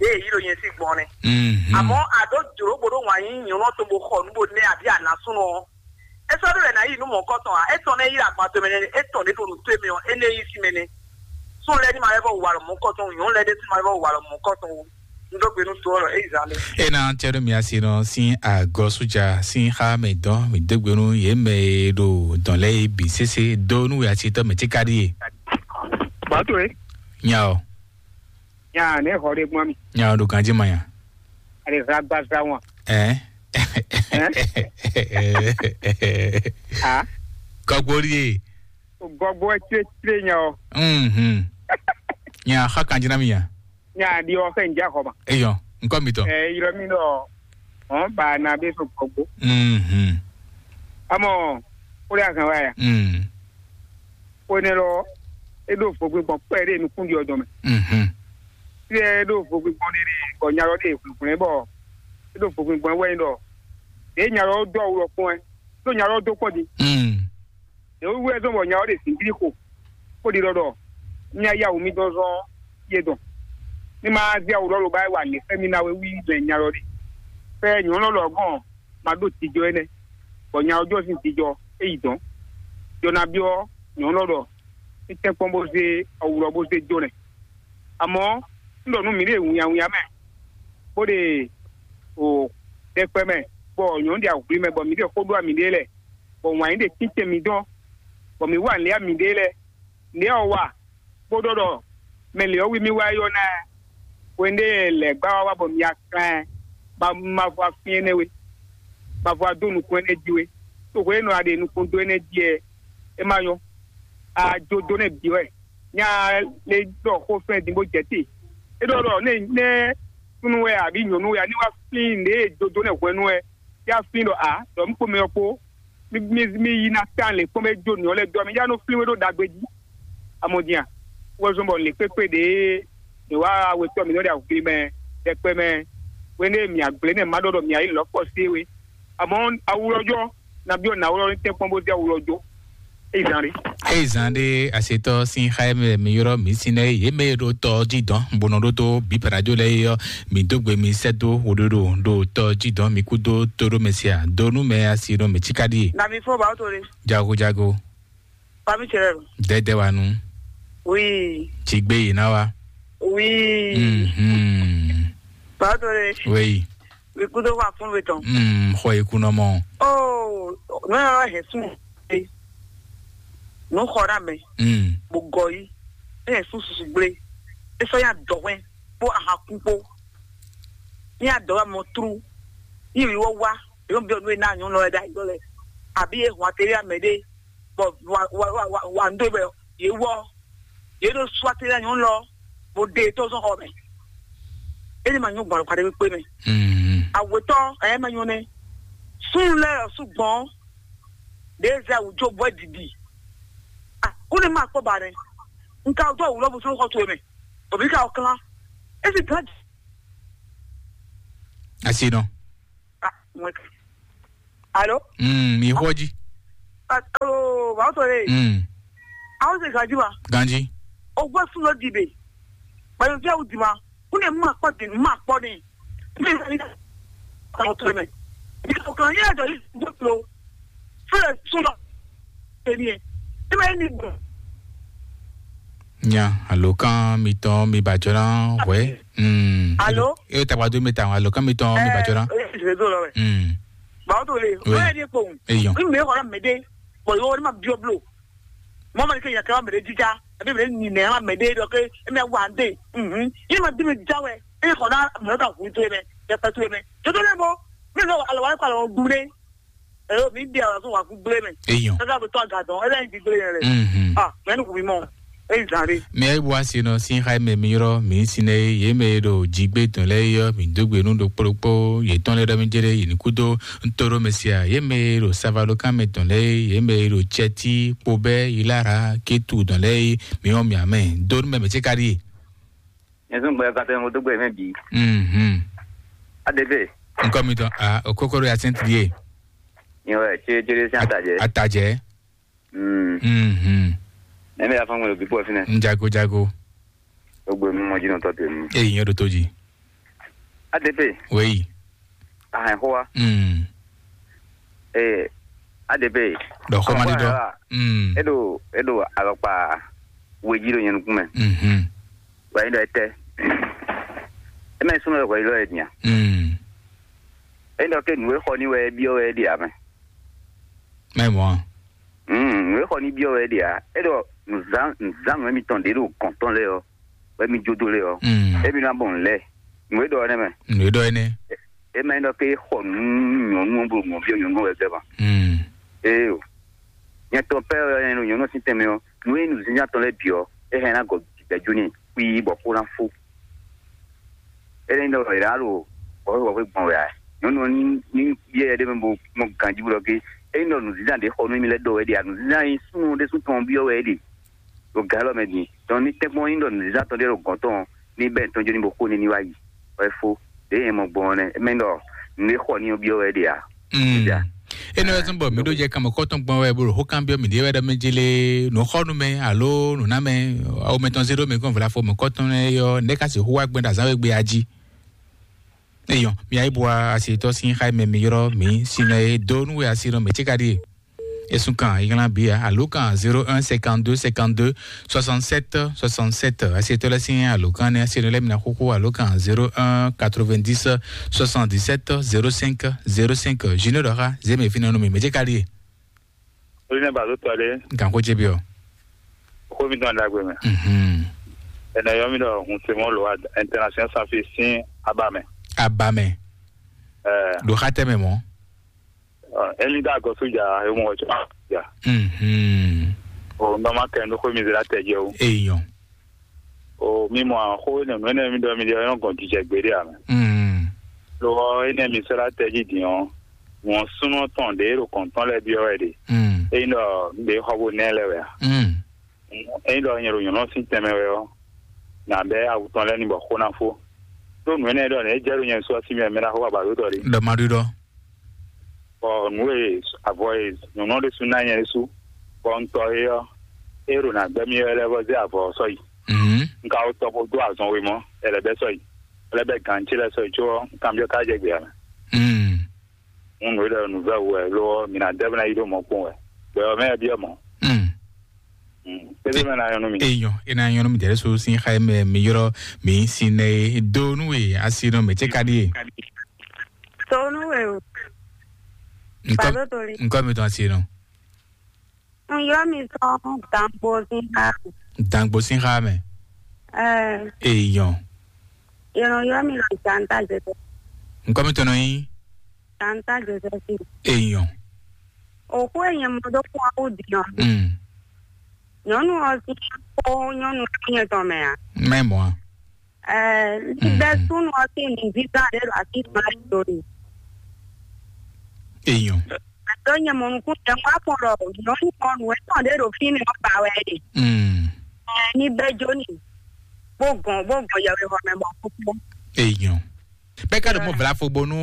Ée yí ɖo nyɛ sín gbɔn nɛ́. Mhm. Àmọ́ àdó jlǒ bó ɖó wǎn yí nyɔ̌nu ɔ́ tɔn bó xɔ nǔ bó nɛ́ abǐ anǎsúnɔ ɔ́. É sɔ́ ɖó wɛ ná yí nǔ mɔ̌kɔtɔn ǎ. É tɔn nɛ́ yí ɖo agban tomɛ nɛ́, é tɔn ɖě ɖo nǔ towe mɛ ɔ́, énɛ́ yí sín mɛ nɛ́. Sún lɛ́ɛ ní ma lɛ́ vɔ wa lɔ mɔ̌kɔtɔn, nyɔ̌nu lɛ́ɛ ɖésú ma lɛ́ vɔ wa lɔ mɔ̌kɔtɔn. Un dó gbe nú to ɔ́ lɔ, é yi zán lé. É ná cɛ ɖó mi asi nɔ sín agɔ́súja sín xá mɛ dɔn mi dó gbe nú yě mɛ e ɖo dɔn lɛ́ɛ é bǐ sésé dó nú we asitɔ mɛ tí ka ɖíe. Bàtò é. Nya ɔ. Nya ne xɔ ɖe gbɔn mi. Nya ɔ ɖo ganjí ma nya. Ale zagbaza wọn. Ɛ. Ah. Kɔgbóri e. Gɔgbó ɛ tse tse nya ɔ. Mhm. Nya xa kanjí ná mi nya. Nya ɖi ɔ fɛ ŋdí axɔ ma. Eyɔ, nkɔ mi tɔ. Ɛ ylɔ mi ɖɔ ɔn ba na bɛ so gbɔgbó. Mhm. Amɔ o de azan wa ya. Mm. O ne lɔ e ɖo vogbe gbɔn kpɛ ɖe nukun ɖi ɔdɔn mɛ. Mhm. Fi ɛ e ɖo vogbe gbɔn ɖe ɖe bɔ nya lɔ ɖe hwlɛhwlɛ bɔ e ɖo vogbe gbɔn wɛ ɖɔ ɖe nya lɔ dɔ awu lɔ kpɔn ɛ ɖo nya lɔ dó kpɔn di. Mm. Ɖě wú wɛ zɔ́n bɔ nya ɔ́ ɖe zǐngídi xo, bó ɖi ɖɔ ɖɔ mía yá wǔ mì dɔn zɔ́n yé dɔn. Ní ma zé awu lɔ lobá wá lě xá mì ná we wí mɛ nya lɔ ɖe. Fɛ nyɔ̌nu lɔ gɔn ma ɖó jijɔ énɛ́, bɔ nya ɔ́ jɔ sín jijɔ é yi dɔn. Jɔ ná byɔ́ nyɔ̌nu lɔ ɖɔ ní tɛ́nkpɔ́n bó zé awu lɔ bó zé jó nɛ́. Amɔ̌, un ɖɔ nú mǐɖée wǐnyáwǐnyá mɛ, bó ɖe o ɖɛkpɛ mɛ, bɔ nyɔ̌nu ɖe ahwǐ mɛ, bɔ mǐɖée xó ɖó mǐɖée lɛ́ɛ, bɔ wǎn yí ɖe tínten mǐ dɔn, bɔ mǐ wa nǔ lɛ́ɛ mǐɖée lɛ́ɛ. Nǔ ɔ́ wa, bó ɖɔ ɖɔ mɛ lě ɔ́ wí mì wá é ɔ́ ná ɛ. Hwenu ɖé lɛ̌ gbá wá wá bɔ mi wá klán ɛ, ma ma vɔ afín énɛ́ we, ma vɔ adó nukún énɛ́ jí we. Tó hwenu e nɔ a ɖe nukún dó énɛ́ jí ɛ, é ma nyɔ́. A jó dó nɛ́ bǐ wɛ. Nya le ɖɔ xó fɛn din bó jɛ te. É ɖɔ ɖɔ nɛ nɛ súnnu wɛ abǐ nyɔ̌nu wɛ a ní wá flín nǔɖé e jó dó nɛ́ hwɛ̌nu wɛ. Yá flín ɖɔ a ɖɔ mǐ kpó mɛ ɔ́ kpó, mí mí mí yi ná tán lě kpɔ́n bɔ é jó nǔ ɔ́ lɛ́ɛ dó ɔ mì yá nɔ flín wé ɖó ɖagbe jí. Amɔdin a? Wɛ zɔn bɔ lě kpékpé ɖě mǐ wá wetɔ́ mǐ nɔ ɖe awǔgbli mɛ ɖɛkpɛ mɛ, hwenu e mǐ agblé nɛ́ má ɖɔ ɖɔ mǐ ayǐ lɔ̌ kpɔ sé we. Amɔ̌ awulɔ́jɔ́ ná byɔ́ nǎwlɔ́ ní tɛ́nkpɔ́n bó zé awulɔ́jó. É yi zán ɖé. Eye zan ɖé asetɔ sín xá mɛ mi yrɔ mi sin nɛ ye mɛ ɖo tɔ jí dɔn bó nɔ ɖó tó bí parajo lɛ yɔ mi dó gbe mi sɛ dó wòɖoɖo ɖo tɔ jí dɔn mi kú dó tó ɖó mɛ sia dó nú mɛ asi ɖo mɛ tsika ɖíe. Na mi fɔ ba to le. Jago jago. Ba mi cɛ lɛ. Dɛdɛ wa nu. Oui. Tsi gbé yi na wa. Oui. Mhm. Ba to le. Oui. Mi kú dó wa fún mi tɔn. Mm, xɔ yi kunɔ mɔ. Oh, nɔ yɔ hɛ sún. Nǔ xɔ ɖa mɛ, Mm. Bó gɔ yí, eye sú susu gblé, é sɔ́ nyi adɔ̌hwɛ́n kpó ahakún kpó, nyi adɔ̌hwɛ́ mɔ tlú, nyi wǐwɔ wá, yě nɔ byɔ́ nǔ e ná nyɔ̌nu lɔ wɛ ɖ'ayǐ lɔ lɛ, abǐ yě hun atelier mɛ ɖé, bɔ wa wa wa wa wa nǔ ɖé bɔ yě wɔ, yě ɖo sú atelier nyɔ̌nu lɔ, bó ɖe tó zɔn xɔ mɛ, é ní ma nyɔ́ gbɔn alɔkpa ɖé kpé mɛ. Mm. Awětɔ́ ɛ ma nyɔ́ nɛ́, súnnu lɛ́ɛ ɔ́ sú gbɔn, ɖě zɛ wǔ jó bɔ é didi. Ah, kúnlẹ̀ máa kpọ́ ba rẹ̀. Nka dó àwùrọ̀ bó sọ́n kọ́ tó mẹ́. Òbí ká ọ̀kan. Esi kan. Asi nɔ. Ah, mwen. Alo? Mm, mi xɔ dzi. Alo, wàá sọ yé. Mm. Àwọn ṣe gàdí wa. Ganji. Ogbó sún ló dìde. Pẹ̀lú bí àwọn dì ma. Kúnlẹ̀ máa kpọ́ dì, máa kpọ́ ni. Mí ní àwọn tó mẹ́. Ìkọ̀kan yẹ́ ẹ̀dọ̀ yìí gbé kúrò. Fúnlẹ̀ sún lọ. Èmi ẹ̀. Ẹ máa ní gbọ̀n. Nya alokan mitɔn mi bajɔna wɛ. Mm. Alo? E tagbado mi ta alokan mitɔn mi bajɔna. Ẹ ẹ ìṣèlú lọ rẹ. Mm. Bàbá tó le. Oui. Wọ́n yẹ ní epo. Eyɔn. Ní mi kọ́ la mẹ́dẹ́. Bọ̀ yóò ní ma bí ọ blo. Mọ́ ma ní kí yẹn kẹ́ wa mẹ́dẹ́ jíjá. Àbí mẹ́dẹ́ nìyẹn wa mẹ́dẹ́ dọ̀ kí ẹ mẹ́ wà á dé. Yín ma bí mi jáwé. Ẹ kọ́ ná mẹ́dẹ́ ka hu tó yẹ mẹ́. Yẹ pẹ́ tó yẹ mẹ́. Tó tó lẹ́ bọ́. Mi lọ àlọ́ wa kọ́ àlọ́ gúlé. Ẹ yóò mi bí àwọn tó wà gúlé mẹ́. Eyɔn. Kẹ́kẹ́ bí tó àgàdàn. Ẹ lẹ́yìn ti gúlé yẹn rẹ̀. Mhm. Ah, mẹ́nu kù mí mọ́. Eyi zan ɖe. Mi ayi bɔ asi nɔ sin xa mɛ mi yɔrɔ mi sin ne ye mɛ ɖo jigbe tɔn lɛ yɔ mi dogbe nu ɖo kplokpo ye tɔn lɛ ɖɔ mi jere yi ni kudo ntoro mɛ sia ye mɛ ɖo savalo kan mɛ tɔn lɛ ye mɛ ɖo tsɛti kpobɛ yilara ketu tɔn lɛ ye mi wɔn mi amɛ do nu mɛ mɛ tse ka ɖi ye. Nyɛ sún gbɛ katɛ mo dogbe mɛ bi. Mhm. Adebe. Nkɔ mi tɔn a okokoro ya sɛnti ye. Nyɛ wɛ tse jere sin atajɛ. Atajɛ. Mm. Mhm. Eme ya fɔn gbɔn ɖo bíbɔ fínɛ. Njago jago. Gbogbo nu mɔ jí nɔ tɔ tenu. Eyi nyɛ ɖo tó jí. A D P. Weyi. Ahɛn xó wa. Mm. Ee, A D P. Ɖɔ xó ma ɖi dɔ. Mm. E ɖo e ɖo alɔkpa weji ɖo nyɛ nukún mɛ. Mhm. Wa yi ɖɔ etɛ. E mɛ súnmọ́ ɖɔ yi lɔ yɛ nya. Mm. E ɖɔ ke nǔ e xɔ ní wɛ e byɔ́ wɛ e ɖe amɛ. Mɛ mɔ. Mm, nǔ e xɔ ní byɔ́ wɛ e ɖe a. E ɖɔ nǔzán nǔzán nǔ e mitɔn ɖe ɖo gɔn tɔn lɛ ɔ, wɛ mi jó dó lɛ ɔ. Mm. E mi ná bɔ nǔ lɛ. Nǔ e ɖɔ ɔ́ nɛ mɛ. Nǔ e ɖɔ énɛ́. E ma nyí ɖɔ ke xɔ nǔ nyɔ̌nu ɔ́ bó mɔ byɔ́ nyɔ̌nu ɔ́ wɛ gbɛ ma. Mm. Ee o. Nyɛ tɔn pɛ́ ɔ́ nyɛ ɖo nyɔ̌nu ɔ́ sín tɛnmɛ ɔ́, nǔ e nyí nǔzínzán tɔn lɛ́ɛ bǐ ɔ́, é hɛn ná gɔ gbɛ̌ jó n'i xwíí bɔ xó ná fó. É nyí ɖɔ è nǎ ɖo wɔ̌xwé gbɔn wɛ ǎ. Nyɔ̌nu ɔ́ ní ní yɛ́yɛ́ ɖé mɛ bó mɔ ganjí bó ɖɔ gé. É nyí ɖɔ nǔzínzán ɖě xɔ nú mì lɛ́ɛ ɖɔ wɛ ɖe ǎ. Nǔzínzán e súnnu ɖésú tɔn byɔ́ wɛ é ɖe ɖo gǎ élɔ́ mɛ din. Dɔn ní tɛ́nkpɔ́n nyí ɖɔ nǔzínzán tɔn ɖé ɖo gɔ̌n tɔn ɔ́, ní bɛ́ tɔn jó ní bo xo ní ní wá yi. Wɛ fó. Ɖě nyɛ mɔ gbɔn ɔ́ nɛ́. É mɛ ɖɔ nǔ e xɔ ní ɔ́ byɔ́ wɛ é ɖe ǎ. Mm. Énɛ́ wɛ zɔ́n bɔ mǐ ɖó jɛ kanmɔkɔ́tɔn gbɔn wɛ bó ɖo xó kanbyɔ́ mǐɖée wɛ ɖɔ mɛ jélé nǔxɔ́nú mɛ alo nǔnámɛ awo mɛtɔn zé ɖó mɛ kɔn vlafo mɔ̌kɔ́tɔn lɛ́ɛ yɔ nɛ̌ ka sixú wá gbɛn ɖo azǎn wegbe a jí. Eyɔn, mi ayíbua asitɔ sín xá mɛ mi yrɔ mi sinɔ e dó nú we asi nɔ mɛ tí ka ɖíe. Esun kan iglán bia alo kan zéro un cinquante-deux cinquante-deux soixante-sept soixante-sept. Asitɔ lɛ sín alo kan ne asi nɔ lɛ mina xóxó alo kan zéro un quatre-vingt-dix soixante-dix-sept zéro cinq zéro cinq. Junior dɔxa zémi fínɛ nú mi mɛ tí ka ɖíe. Orí nɛ bàtú tɔlé. Nkan kó jé bí ọ. Kó mi tán dàgbé mɛ. Mhm. Ẹnlẹ yọ mi ɖɔ hun se mɔ lo international sanfi sín aba mɛ. Aba mɛ. Ɛ. Ɖo xa tɛ mɛ mɔ. Ɛni dá gɔ sójà ewon ɔjọ́ jà. Mhm. O nɔma kɛ ndó kó mi zra tɛ jɛ o. Eyɔn. O mi mɔ axó nɛnú ɛnɛ mi ɖɔ mi ɖe ɔyɔn gɔn jijɛ gbeɖé amɛ. Mm. Lo ɔ enɛ mi sɔ́ ɖo atɛ jí din ɔ́, wọ́n súnnu tɔn ɖě ɖo kɔ̌ntɔn lɛ́ɛ byɔ́ wɛ ɖe. Mm. Ényí ɖɔ un ɖe xɔ bó nɛ́ lɛ́ wɛ a? Mm. Ényí ɖɔ nyɛ ɖo nyɔ̌nu sín tɛnmɛ wɛ ɔ́, nǎ bɛ́ awu tɔn lɛ́ɛ ní bɔ xó ná fó. Ɖó nǔ énɛ́ ɖɔ nɛ̌ é jɛ ɖo nyɛ su ɔ́ sín mɛ mɛ ná xó wa ba ɖó tɔ ɖe. Ɖɔ ma ɖu ɖɔ. Bɔ nǔ e avɔ e nyɔ̌nu ɔ́ ɖésú ná nyɛ ɖésú, bɔ un tɔ é ɔ́, é ɖo nǎ gbɛ́ mì wɛ lɛ́ vɔ zé avɔ ɔ́ sɔ́yi. Mhm. Un ka wó tɔ bó dó azɔn we mɔ̌, ɛ lɛ́ bɛ́ sɔ́yi, ɛ lɛ́ bɛ́ gǎn ce lɛ́ɛ sɔ́yi có ɔ́, un kanbyɔ́ ká jɛ gbě ǎ mɛ. Mm. Un nǔ e ɖɔ nǔvɛ́ wú wɛ, lo ɔ́, mǐ ná dɛ́ bó ná yi ɖó mɔ̌ kpɔ́n wɛ. Gbɛ ɔ́ mɛ wɛ byɔ́ mɔ̌. Mm. Mm. Tɛ́ntin mɛ ná nyɔ́ nú mì. Eyɔn, é ná nyɔ́ nú mì dɛ̌ ɖésú sín xá e mɛ mi ylɔ́ mǐ sin nɛ e dó nú we asi nɔ mɛ ce ka ɖíe. Tó nú we o. Ŋkɔ Bàbá Tolí. Ŋkɔ mi tɔn asi nɔ. Un ylɔ́ mi tɔn Dangbo sín xá. Dangbo sín xá mɛ. Ɛɛ. Eyɔn. Yɛn nɔ ylɔ́ mi ɖɔ Janta Joseph. Ŋkɔ mi tɔn nɔ nyí. Janta Joseph. Eyɔn. Òkú èyàn mɔ dó kún ɔ́ kú din ɔ́. Mm. Nyɔ̌nu ɔ́ sín kó nyɔ́nu nyɛ tɔn mɛ ǎ. Mɛ mɔ a? Ɛɛ, ní bɛ́ súnnu ɔ́ sín nǔzízán ɖé ɖo así tɔn lɛ́ɛ dó ɖe. Eyɔn. Ɖó nyɛ mɔ nukún jɛ ŋgɔ́ kpɔn ɖɔ nyɔ̌nu ɔ́ nǔ e tɔn ɖé ɖo fínɛ́ ɔ́ ba wɛ é ɖe. Mm. Ɛɛ, ní bɛ́ jó n'i, bó gɔn bó gɔn yɛwehɔ mɛ mɔ kúkú. Eyɔn. Bɛ́ ka ɖo mɔ vlafo bónú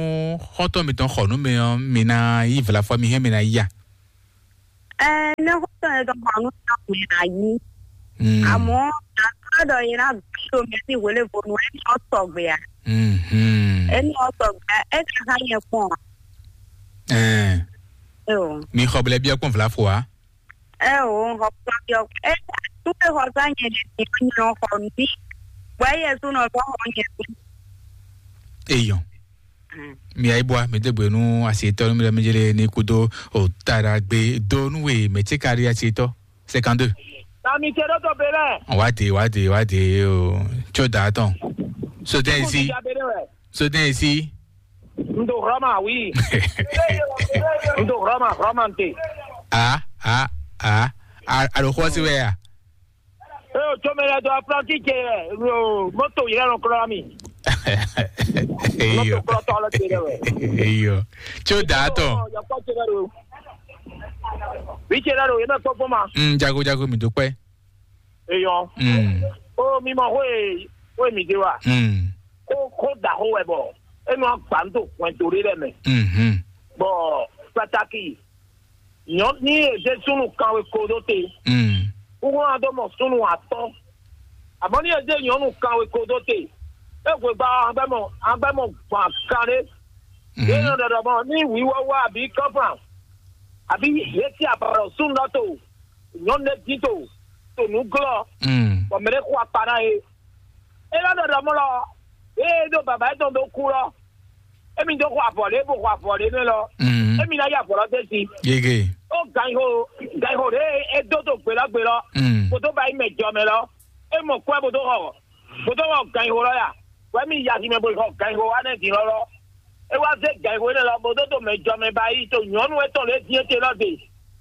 xɔ́ntɔn mitɔn xɔ nú mi ɔ́, mi ná yí vlafo mi hɛn mi ná yí a? Ɛɛ, ne xɔ́ntɔn yɛtɔn xɔ nú mi ná yí. Mm. Àmọ́ àtúrà ɖɔ yẹn ná bí omi sí wele bonu ẹni ɔ sɔgbe a? Mhm. Ẹni ɔ sɔgbe a? Ẹ kà hã yẹn kpɔn a? Ɛɛ. Ẹ o. Mi xɔ blɛ biɛ kpɔn vlafo a? Ɛ o, xɔ kpɔn biɔ. Ɛ tu ke xɔ sa nyɛ ɖe ti nyɔ xɔ mi. Bɔ ẹ yẹ su nɔ sɔ xɔ nyɛ su. Eyɔn. Mm. Mi ayi bua mi degbe nu asitɔ nu mi le mi jele ni kudo o tara gbe do nu we mɛ tse kari asitɔ. Cinquante-deux. Na mi tse ɖo to belɛ. Wá de, wá de, wá de o. Tso da tɔn. Sodɛn isi. Sodɛn isi. N do Roma, oui. N do Roma, Roma n te. A, a, a, a, a ɖo xɔ si wɛ ya? Ee, o tso mɛ lɛ do aplanti ce, o moto yɛrɛ lɔ kura mi. Eyo. Moto kura tɔ lɛ te lɛ wɛ. Eyo. Tso da tɔn. Yakɔ ce lɛ do. Wi ce lɛ do, yɛ mɛ kpɔkpɔ ma. Mm, jago jago mi do pɛ. Eyɔn. Mm. O mi mɔ xó e xó e mi de wa. Mm. Xó xó da xó wɛ bɔ e nɔ agba n to hwɛndo ɖe lɛ mɛ. Mhm. Bɔ pataki Nyɔ̌ ní è zé súnnu kanwe ko dó te, Mm. kúkú ná dó mɔ súnnu atɔ́. Àmọ́ ní è zé nyɔ̌nu kanwe ko dó te, é hwegba ɔ́, an gbɛ́ mɔ an gbɛ́ mɔ gbɔn kanɖé. Yě nɔ ɖɔɖɔ mɔ ní wǐwɔ́ wá abǐ kɔ́fan, abǐ yě sí abɔ̌ súnnu lɔ to nyɔ̌nu lɛ́ɛ dín to to nǔglɔ́, Mm. bɔ mɛ ɖé xo akpa ná é. É nɔ ɖɔɖɔ mɔ lɔ, ée é ɖo bǎbá yětɔn dó kú lɔ, émí dó xo avɔ lě bó xo avɔ lě nɛ́ lɔ, Mm. émí ná yí avɔ lɔ dó sí. Yege. Ó ganxixo ganxixo ɖě e é dó dó gbe lɔ gbe lɔ, Mm. bó dó ba yi mɛ jɔ mɛ lɔ, é mɔ kwɛ́ bó dó xɔ bó dó xɔ ganxixo lɔ ya, wɛ mì yi aximɛ bó yi xɔ ganxixo wá nɛ́ din lɔ lɔ. É wá zé ganxixo énɛ́ lɔ bó dó dó mɛ jɔ mɛ ba yi to nyɔ̌nu étɔn lě din étɛn lɔ de.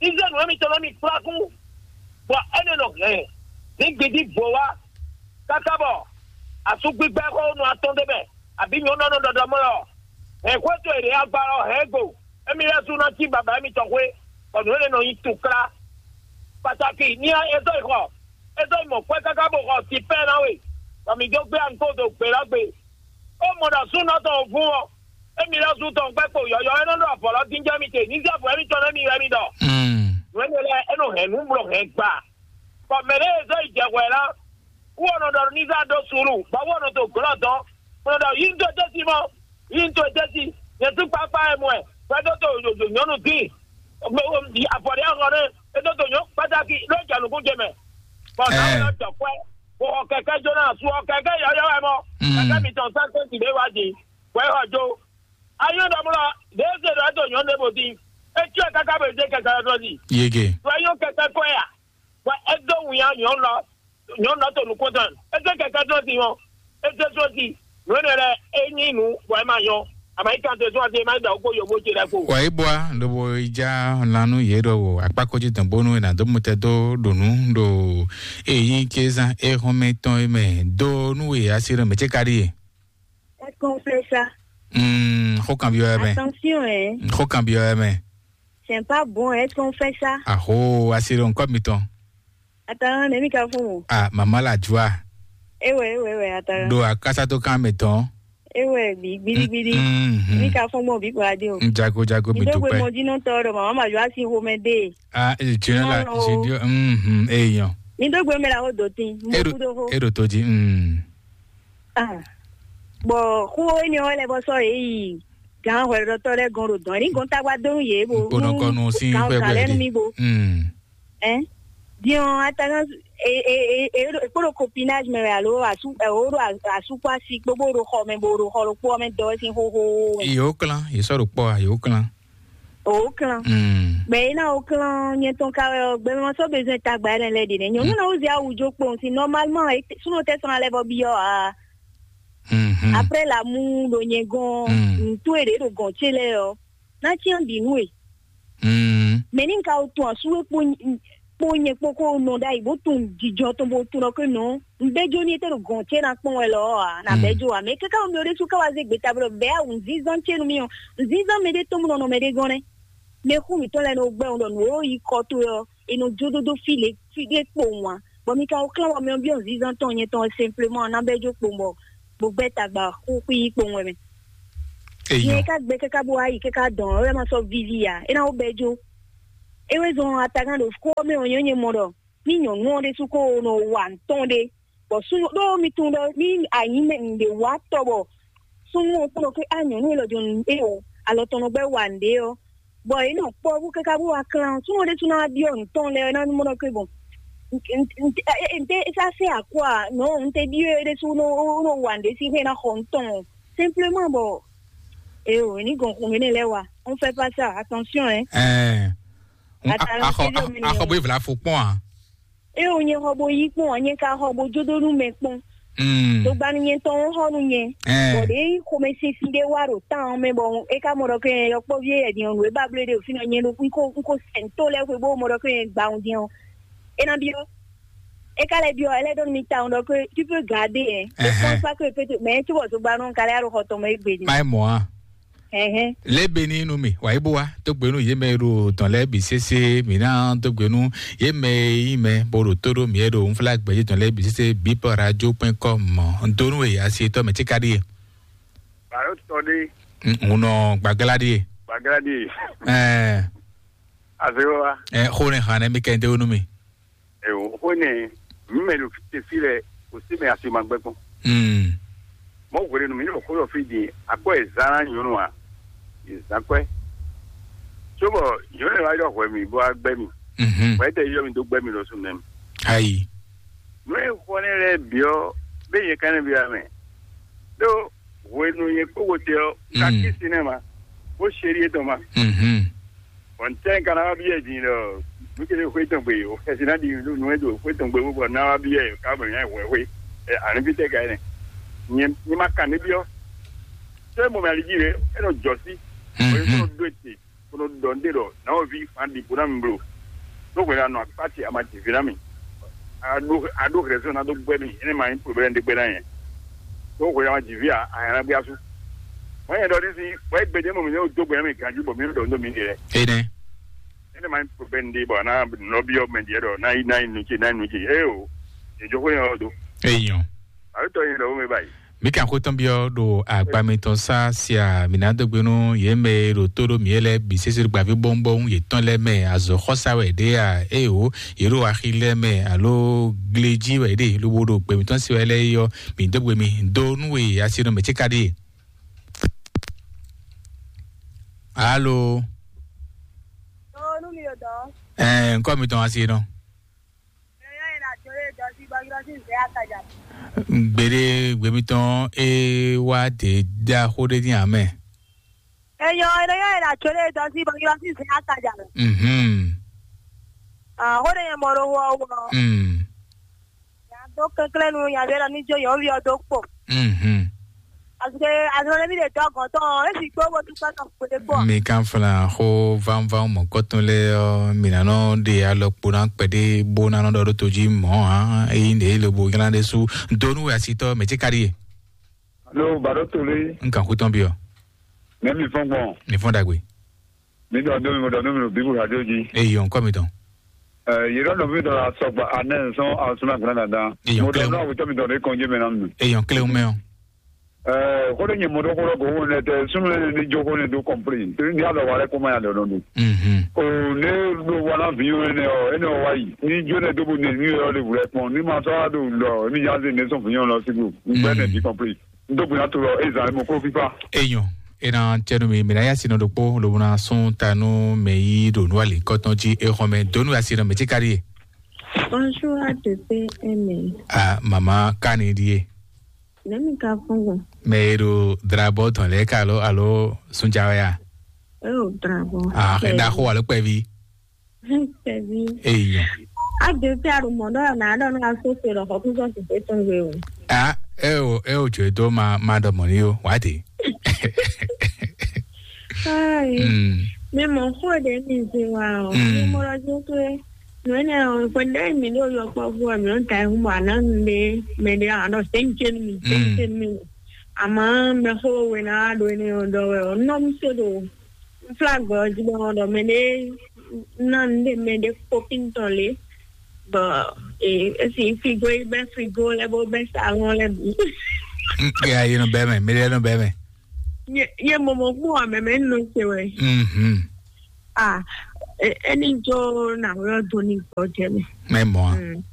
Izlɛ́ɛnu émítɔn lɔ mi kplá kú, bɔ énɛ́ nɔ hɛn ní gbidí bǒ wá, káká bɔ asúgbígbɛ́ xó nɔ atɔ́n d'é mɛ, abǐ nyɔ̌nu ɔ́ nɔ ɖɔɖɔ mɔ lɔ, hɛn xwé towe ɖě agba lɔ hɛn é gbo, émí lɛ́ɛ sú ná cí baba émítɔn xwé, bɔ nǔ énɛ́ nɔ nyí tukla. Pataki ní é zɔ́ yi xɔ, é zɔ́ yi mɔ xwé káká bó xɔ sipɛ́ ná we, bɔ mǐ jó gbé ankó dó gbe lɔ gbe. Ó mɔ ɖɔ súnɔ tɔn vún ɔ́, émí lɛ́ɛ sú tɔn gbɛ́ kpo yɔ̌yɔ́ é nɔ ɖo avɔ lɔ dín jɛ mì te, ní zé avɔ émítɔn nú émí wɛ mì ɖɔ. Mm. Nǔ énɛ́ lɛ́ɛ é nɔ hɛn nǔ bló hɛn gba. Bɔ mɛ ɖé e zɔ́ yi jɛ hwɛ lá, wú ɔ́ nɔ ɖɔ ní zá ɖó suúlu, bɔ wú ɔ́ nɔ to glɔ́ dɔn, bó nɔ ɖɔ yí ń tó tɛ́sí mɔ, yí ń tó tɛ́sí, nyɛ sú kpákpá wɛ mɔ ɛ, hwɛ dó to yǒyǒ nyɔ́nu dín, afɔ ɖé ɔ́ nɛ́, é dó to nyɔ̌ kpátákí ɖó jɛ nǔkún ce mɛ, bɔ nǎwe ɔ́ jɔ kwɛ́, bó xɔ kɛkɛ́ jóná, su ɔ kɛkɛ́ yɔ́yɔ́ wɛ mɔ, Mm. kɛkɛ́ mitɔn sɛ́n tɛ́ntin ɖé wá din, bɔ é xɔ jó. Ayɔ́ ɖɔ mɔ lɔ, ɖěe se ɖɔ é to nyɔ̌nu ɖé bó dín, é cyɔ ɛ káká bó zé kɛkɛ́ ɔ́ dó zi. Yege. Ɖɔ é nyɔ́ kɛkɛ́ kɔ́ ɛ a? Bɔ é dó winnyá nyɔ̌nu lɔ, nyɔ̌nu lɔ to nukɔn tɔn. É zé kɛkɛ́ tɔn sin ɔ́, é zé sɔ́ sin. Nǔ énɛ́ lɛ́ɛ é nyí nǔ bɔ é ma nyɔ́. Àmọ́ é kan te sún ase é má da wǔ kpó yǒbó ce lɛ́ɛ kpo. Wǎ yi bɔ a ɖo bo yi já lan nú yě ɖɔhun akpákó jí dɔn bónú è nǎ dó mutɛ dó ɖo nǔ ɖo èyí kézán éhɔ́nmɛ tɔn é mɛ dó nú e asi ɖɔ mɛ cé ka ɖíe. Est-ce qu'on fait ça? Mm, xó kan byɔ́ ɛ mɛ. Attention, hein. Xó kan byɔ́ ɛ mɛ. C'est pas bon, est-ce qu'on fait ça? Aho, asi ɖo ŋkɔ mitɔn. Attends, ne mi ka fún. Ah, maman la joie. Ewe, ewe, ewe, attends. Ɖo akásá tó kan mɛ tɔn. Ewe, bi, gbidi, gbidi. Mm, mm, mm. Mi ka fún gbɔn bi kura di o. Jago, jago, mi dúpẹ́. Mi dó gbe mɔ dínà tɔ ɖo mama ma joie si xomɛ de. Ah, eh, tu es là, j'ai dit, mm, mm, eh, yon. Mi dó gbe mɛ la o do tin. Mo Eɖo, kudo ho. Eɖo tó jí, mm. Ah. Bɔ xó énɛ́ ɔ́ lɛ́ bɔ sɔ́ yě yi gǎn hwɛɖɔtɔ́ lɛ́ɛ gɔ́n ɖo dɔ̌n. Ní gɔ́n tágbá dó nú yě bo Kpónɔ kɔnu sín gǎn xwé gǎn lɛ́ɛ nú mí bo. Mm. Ɛn? Din ɔ́, atagán e e e e e kpóɖo copinage mɛ wɛ alo asú ɛ o ɖo asúkpó asi kpó bó ɖo xɔ mɛ bo ɖo xɔ ɖokpó ɔ́ mɛ dɔ wɛ sín xóxó mɛ. Yě wó klán, yě sɔ́ ɖo kpɔ́ a, yě wó klán. O klán. Mm. Mɛ e ná o klán nyɛ tɔn ka wɛ ɔ́, gbɛmɛ ma sɔ́ bezɔn tagba ɛnɛ lɛ ɖe nɛ. Nyɔnu na wo zia awu jo kpɔn si normalement e súnɔ tɛ sɔn alɛ bɔ bi ɔ́ a. Mhm. Après la mu ɖo nyɛ gɔn Mm. ntú e ɖe ɖo gɔn ce lɛ ɔ́. Na tiɲɛ ɖi nú e. Mm. Mɛ ní ka o tun asú e kpó kpó nyɛ kpó kó nɔ ɖ'ayǐ bó tun jijɔ tɔn bó tun ɖɔ ké nɔ. Nbɛjɔ ní e tɛ ɖo gɔn ce na kpɔn wɛ lɔ a na Mm. bɛjɔ a mɛ kaka mi ɖe su ka wa ze gbeta bɔ bɛ awu nzinzan ce nu mi o nzinzan mɛ ɖe tɔn mu nɔ nɔ mɛ ɖe gɔn nɛ. Mɛ xú mi tɔn lɛ nɔ gbɛ ŋu ɖɔ nǔ o yi kɔ to yɔ e nɔ jó dódó fi le fi ɖe kpowun a bɔ mi ka o klán bɔ mi ɔ biɔ nzinzan tɔn nyɛ tɔn simplement na bɛjɔ kpowun bɔ bó gbɛ tagba xúxú yi kpowun wɛ mɛ. Eyɔn. Nyɛ ka gbɛ kaka bó ayi kaka dɔn ɔ ma sɔ vivi a e na o bɛjɔ. E wɛ zɔn atagan ɖo kó mɛ o nyɛ nyɛ mɔ ɖɔ ní nyɔ̌nu ɔ́ ɖésú kó nɔ wa ntɔn ɖé, bɔ súnnu ɖó mi tunwun ɖɔ ní anyǐ mɛ nǔɖé wa tɔ bɔ súnnu ɔ́ kplɔ́n ké á nyɔ̌nu élɔ́ jɔn é o alɔ tɔn nɔ gbɛ́ wa nǔɖé ɔ́, bɔ é nɔ kpɔ́ bó káká bó wá klán súnnu ɔ́ ɖésú ná wá byɔ́ nǔ tɔn lɛ́ɛ ná mɔ ɖɔ ké bɔn nte sá sɛ akwá nɔ nte byɔ́ é ɖésú nɔ wa nǔɖé sín xwé ná xɔ nǔ tɔn simplement bɔ é o ní gɔn xun énɛ́ lɛ́ɛ wa on fait pas ça attention hein. Ɛɛ, Ata axɔ axɔ bó evla fo kpɔn a. Eo nyɛ xɔ bo yí kpɔn ɔ nyɛ ka xɔ bo jó dó nú mɛ kpɔn. Togbanu nyɛ tɔn xɔ nú nyɛ. Bɔ ɖe xomɛsinsin ɖé wá ɖo tán ɔ́ mɛ bɔ é ka mɔ ɖɔ kɛ yɔkpɔ́ví e yɛdin ɔ́ nǔ e ba bló ɖe fínɔ nyɛ ɖo un ko un ko sɛn tó lɛ́ɛ xwe bó mɔ ɖɔ kɛ yɛ gba un din ɔ́. É ná byɔ́. É ka lɛ́ byɔ́ ɛ lɛ́ ɖɔ nú mi tawun ɖɔ kɛ tu peux garder ɛ. É kpɔ́n sá kɛ pété mɛ é cóbɔ togbanu ɔ́ ka lɛ́ ɖo xɔ tɔn mɛ é gbe din. Má é mɔ a. Hɛhɛ. Lɛ́ be ní nú mi wǎ yi bó wá tó gbe nú yě mɛ e ɖo tɔn lɛ́ɛ bǐ sésé mǐ ná tó gbe nú yě mɛ e nyí mɛ bó ɖo tó ɖó mǐ e ɖo unflágbɛjí tɔn lɛ́ɛ bǐ sésé bǐ pɔ radio point com mɔ un dó nú e asi etɔ́ mɛ cíká ɖíe. Bàró tɔ ɖé. Un nɔ gbàgálá ɖíe. Gbàgálá ɖíe. Ɛɛ. Azéwá. Ɛ xó ne hàn nɛ mi kɛ ndé wónú mi. Ɛ o xó ne mi mɛ lo fi fi lɛ o si mɛ asi ma gbɛ kpɔn. Mm. Mɔ hwele nu mi yɔ xó lɔ fi di akɔ ɛ zan na nyɔnu a, ɛ zan kɔɛ. Tso bɔ nyɔnu wa yɔ hwɛ mi bɔ agbɛ mi. Mhm. Wɛ tɛ yɔ mi do gbɛ mi lɔ su nɛ mi. Ayi. Nu e xɔ ne lɛ biɔ be ye kan ne bi amɛ. Do hwenu ye kpókpo te ɔ, ka Mm. kisi ne ma, ko seri etɔn ma. Mhm. Bɔn tɛ ka na wa bi yɛ din lɔ, nu ke xwe tɔn gbe o, kɛsi na di nu nu e do xwe tɔn gbe bɔ na wa bi yɛ ka bɔ nya hwɛ hwe. Ani bi tɛ ka ne. Nye nye ma kan ne biɔ. Tɛ mo mɛ ali ji re, e nɔ jɔ si. O ye Mhm. ko do te, ko nɔ dɔ nde dɔ, na o vi fan di ko na mi blo. No hwɛ na nɔ akpa ti ama ti vi na mi. A do a do hwɛ so na do gbɛ mi, ene ma yin problème de gbɛ na yɛ. No hwɛ na ti vi a, a yana gbɛ asu. Wọ́n yẹn dɔ ní sí, wọ́n gbé dé mọ̀ mí ní o dó gbé mi ganjú bọ̀ mí ń dọ̀ ní mi dé rẹ̀. Ene. Ene ma ń pè bẹ́ẹ̀ ní bọ̀ náà nọ bí ọmọ ẹ̀dí ẹ̀dọ̀ náà yí náà yí nùjì náà yí nùjì. Ẹ o, ìjókòó yẹn ọ̀dọ̀. Èèyàn. Àbí tọ́ yẹn lọ́wọ́ mi báyìí. Mi kàn kó tán bí ọ ɖo agbamitɔn sá sia mǐnádógbénú yě mɛ e ɖo tó ɖó mǐ é lɛ́ɛ bǐ sésé ɖo gbǎví bɔ́nbɔ́n yětɔn lɛ́ɛ mɛ azɔ̌xɔ́sá wɛ ɖě a? Éeǒ, yě ɖo axi lɛ́ɛ mɛ alo glejí wɛ ɖe lobo ɖo gbɛmítɔn se wɛ lɛ́ɛ é ɔ́, mǐ dó gbe mi dó nú we asi nɔ mɛ̌ ce ka ɖíe? Alo. Ɔ, nú mi ɖo dɔ̌. Ɛɛ, ŋkɔ mitɔn asi nɔ. Yɔyɔ yẹn na jɔ lé dɔ sí bɔ yɔ sí zɛ akajà. Gbede gbemítɔn é wá dé dá xó ɖé ní amɛ. Eyɔ yɔyɔ yẹn na jɔ lé dɔ sí bɔ yɔ sí zɛ akajà. Mhm. Ah, xó ɖé yẹn mɔ ɖo wɔ wɔ. Mm. Yàtọ̀ kékeré nu yàtọ̀ ní jó yọ̀ wíyọ tó pọ̀. Mhm. Àsìkò àsìkò níbi lè dọ́gàn tán ẹ sì gbówó dúpẹ́ tán kò lè pọ̀. Mi kan flan xó vánván mɔ̌kɔtɔn lɛ́ɛ ɔ́, mǐ ná nɔ ɖe alɔkpo ná kpɛɖé bó ná nɔ ɖɔ ɖó tojí mɔ̌ ǎ. Ényí ɖě lobo nylá ɖé sú dó nú wɛ asitɔ́ mɛ̌ ce ka ɖíe? Alo, bàɖó tolé. N kan xú tɔn byɔ́. Mɛ̌ mi fɔ́n gbɔn? Mi fɔ́n ɖagbe. Mi ɖɔ dó mi, mo ɖɔ nú mi ɖo Bíbù radio jí. Eyi ɔn kɔ mi tɔn. Ɛ, yě ɖɔ nɔví ɖɔ asɔgba anɛ sɔn asúnà gbɔn dandan. Eyi ɔn Mo ɖɔ kɛlɛ. Nɔ awetɔ mi dɔn ɖe kɔnjé mɛ na mi. Eyi ɔn kɛlɛ mɛ ɔn. Ɛ, xó ɖé nyɛ mo ɖɔ xó ɖɔ go wo nɛ tɛ súnmɛ ní jó xó ní dó kɔmplé. Torí ní alɔ wa lɛ kó ma ya lɛ nɔ ɖu. Mhm. O ne ɖo wa na vi yɔn nɛ ɔ, ene ɔ wa yi. Ní jó nɛ dó bo ne ní yɔ le wulɛ kpɔn. Ní ma sɔ wa ɖo lɔ ní ya ze ne sɔn vi yɔn lɔ sigo. Gbɛ nɛ di kɔmplé. N dó gbe na to lɔ ezan e mo kó fífá. Enyɔ, e na tɛnu mi mi na ya sinɔ ɖokpó lobo na sún ta nú mɛ yí ɖo nú ali kɔtɔn jí e xɔn mɛ dó nú asi nɔ mɛ tí kárí e. Bonjour à deux P M. A mama kani ɖíe. Nɛmi ka fún gbɔn. Mɛ e ɖo drabɔ tɔn lɛ ka alo alo sunjawe a? E o drabɔ. A xe da xo alo kpɛvi. Kpɛvi. Eyi nyɔ. A ɖe fia ɖo mɔ ɖɔ na ɖɔ na so se ɖɔ xɔ kúzɔ si se tɔn gbe o. A e o e o jɔ do ma ma ɖɔ mɔ ni o wa de. Ayi. Mm. Mi mɔ xo ɖe mi se wa o. Mm. Mi mɔ ɖɔ jo to e. No ene o ko ɖe mi ɖo yɔ kpɔ fu mi on ta hu ma na nu de me de a ɖɔ sen chen mi sen chen mi. Ama me xo we na ɖo ene o ɖɔ we o nɔ mi se do. Flagbɔ ɔ́ jí bɔ ɖɔ mɛ ɖé ná nu ɖé mɛ ɖé kpókín tɔn lé bɔ esi frigo yi bɛ frigo lɛ bó bɛ salon lɛ bǐ. Ya yi nɔ bɛ mɛ, mi lɛ nɔ bɛ mɛ. Ye ye mɔmɔ kpó amɛ mɛ nɔ se wɛ. Mhm. Ah, e- eni jo na wɛ do ni gbɔ jɛ mɛ. Mɛ mɔ a. Mm,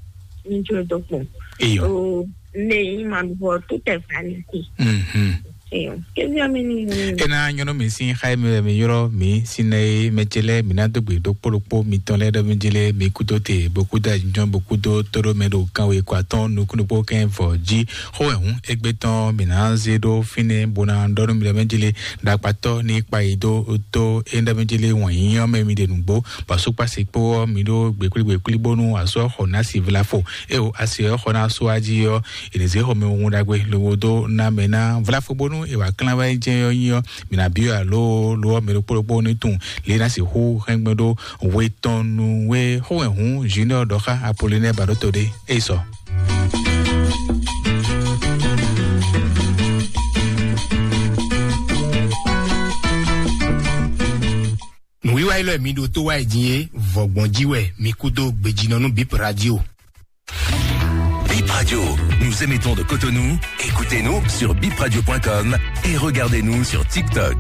ni jo do kpɔn. Iyo. O ne ma bɔ tout est vanité. Mhm. Iyo. Kevia mi ni. Ena nyɔnu mi sin xaye mi mi yɔrɔ mi sin ne me tse lɛ mi na do gbe do kpolo kpo mi tɔn lɛ dɔ mi dzi lɛ mi kudo te bo kudo ajijɔn bo kudo todo mɛ do kan we kwa tɔn nukun po kɛ vɔ dzi xo ehun egbe tɔn mi na ze do fine bo na dɔ nu mi lɛ mɛ dzi lɛ dakpatɔ ni kpa yi do to e dɔ mi dzi lɛ wɔn yi yɔ mɛ mi de nugbo ba so kpa se kpo mi do gbekuli gbekuli bonu asɔ xɔ na si vla fo. Eo asi ɔ́ xɔ ná sú ají ɔ́, è nǐ zé xɔmɛ wun ɖagbe lobo dó ná mɛ ná vlafo bónú è wǎ klán wá jɛ ɔ́ nyi ɔ́, mǐ ná byɔ́ alo lo ɔ́ mɛ ɖokpó ɖokpó ní tunwun lě ná sixú hɛn gbɛn ɖó hwe tɔn nu wé xó wɛ hǔn Junior ɖɔ xá Apolinɛ ba ɖó to ɖé é sɔ. Nǔwiwa élɔ́ e mi ɖo tó wá yi din é, vɔ̌gbɔn jí wɛ mi kú dó gbejínɔ nú Bip Radio. Bip Radio, nous émettons de Cotonou. Écoutez-nous sur bip radio point com et regardez-nous sur TikTok.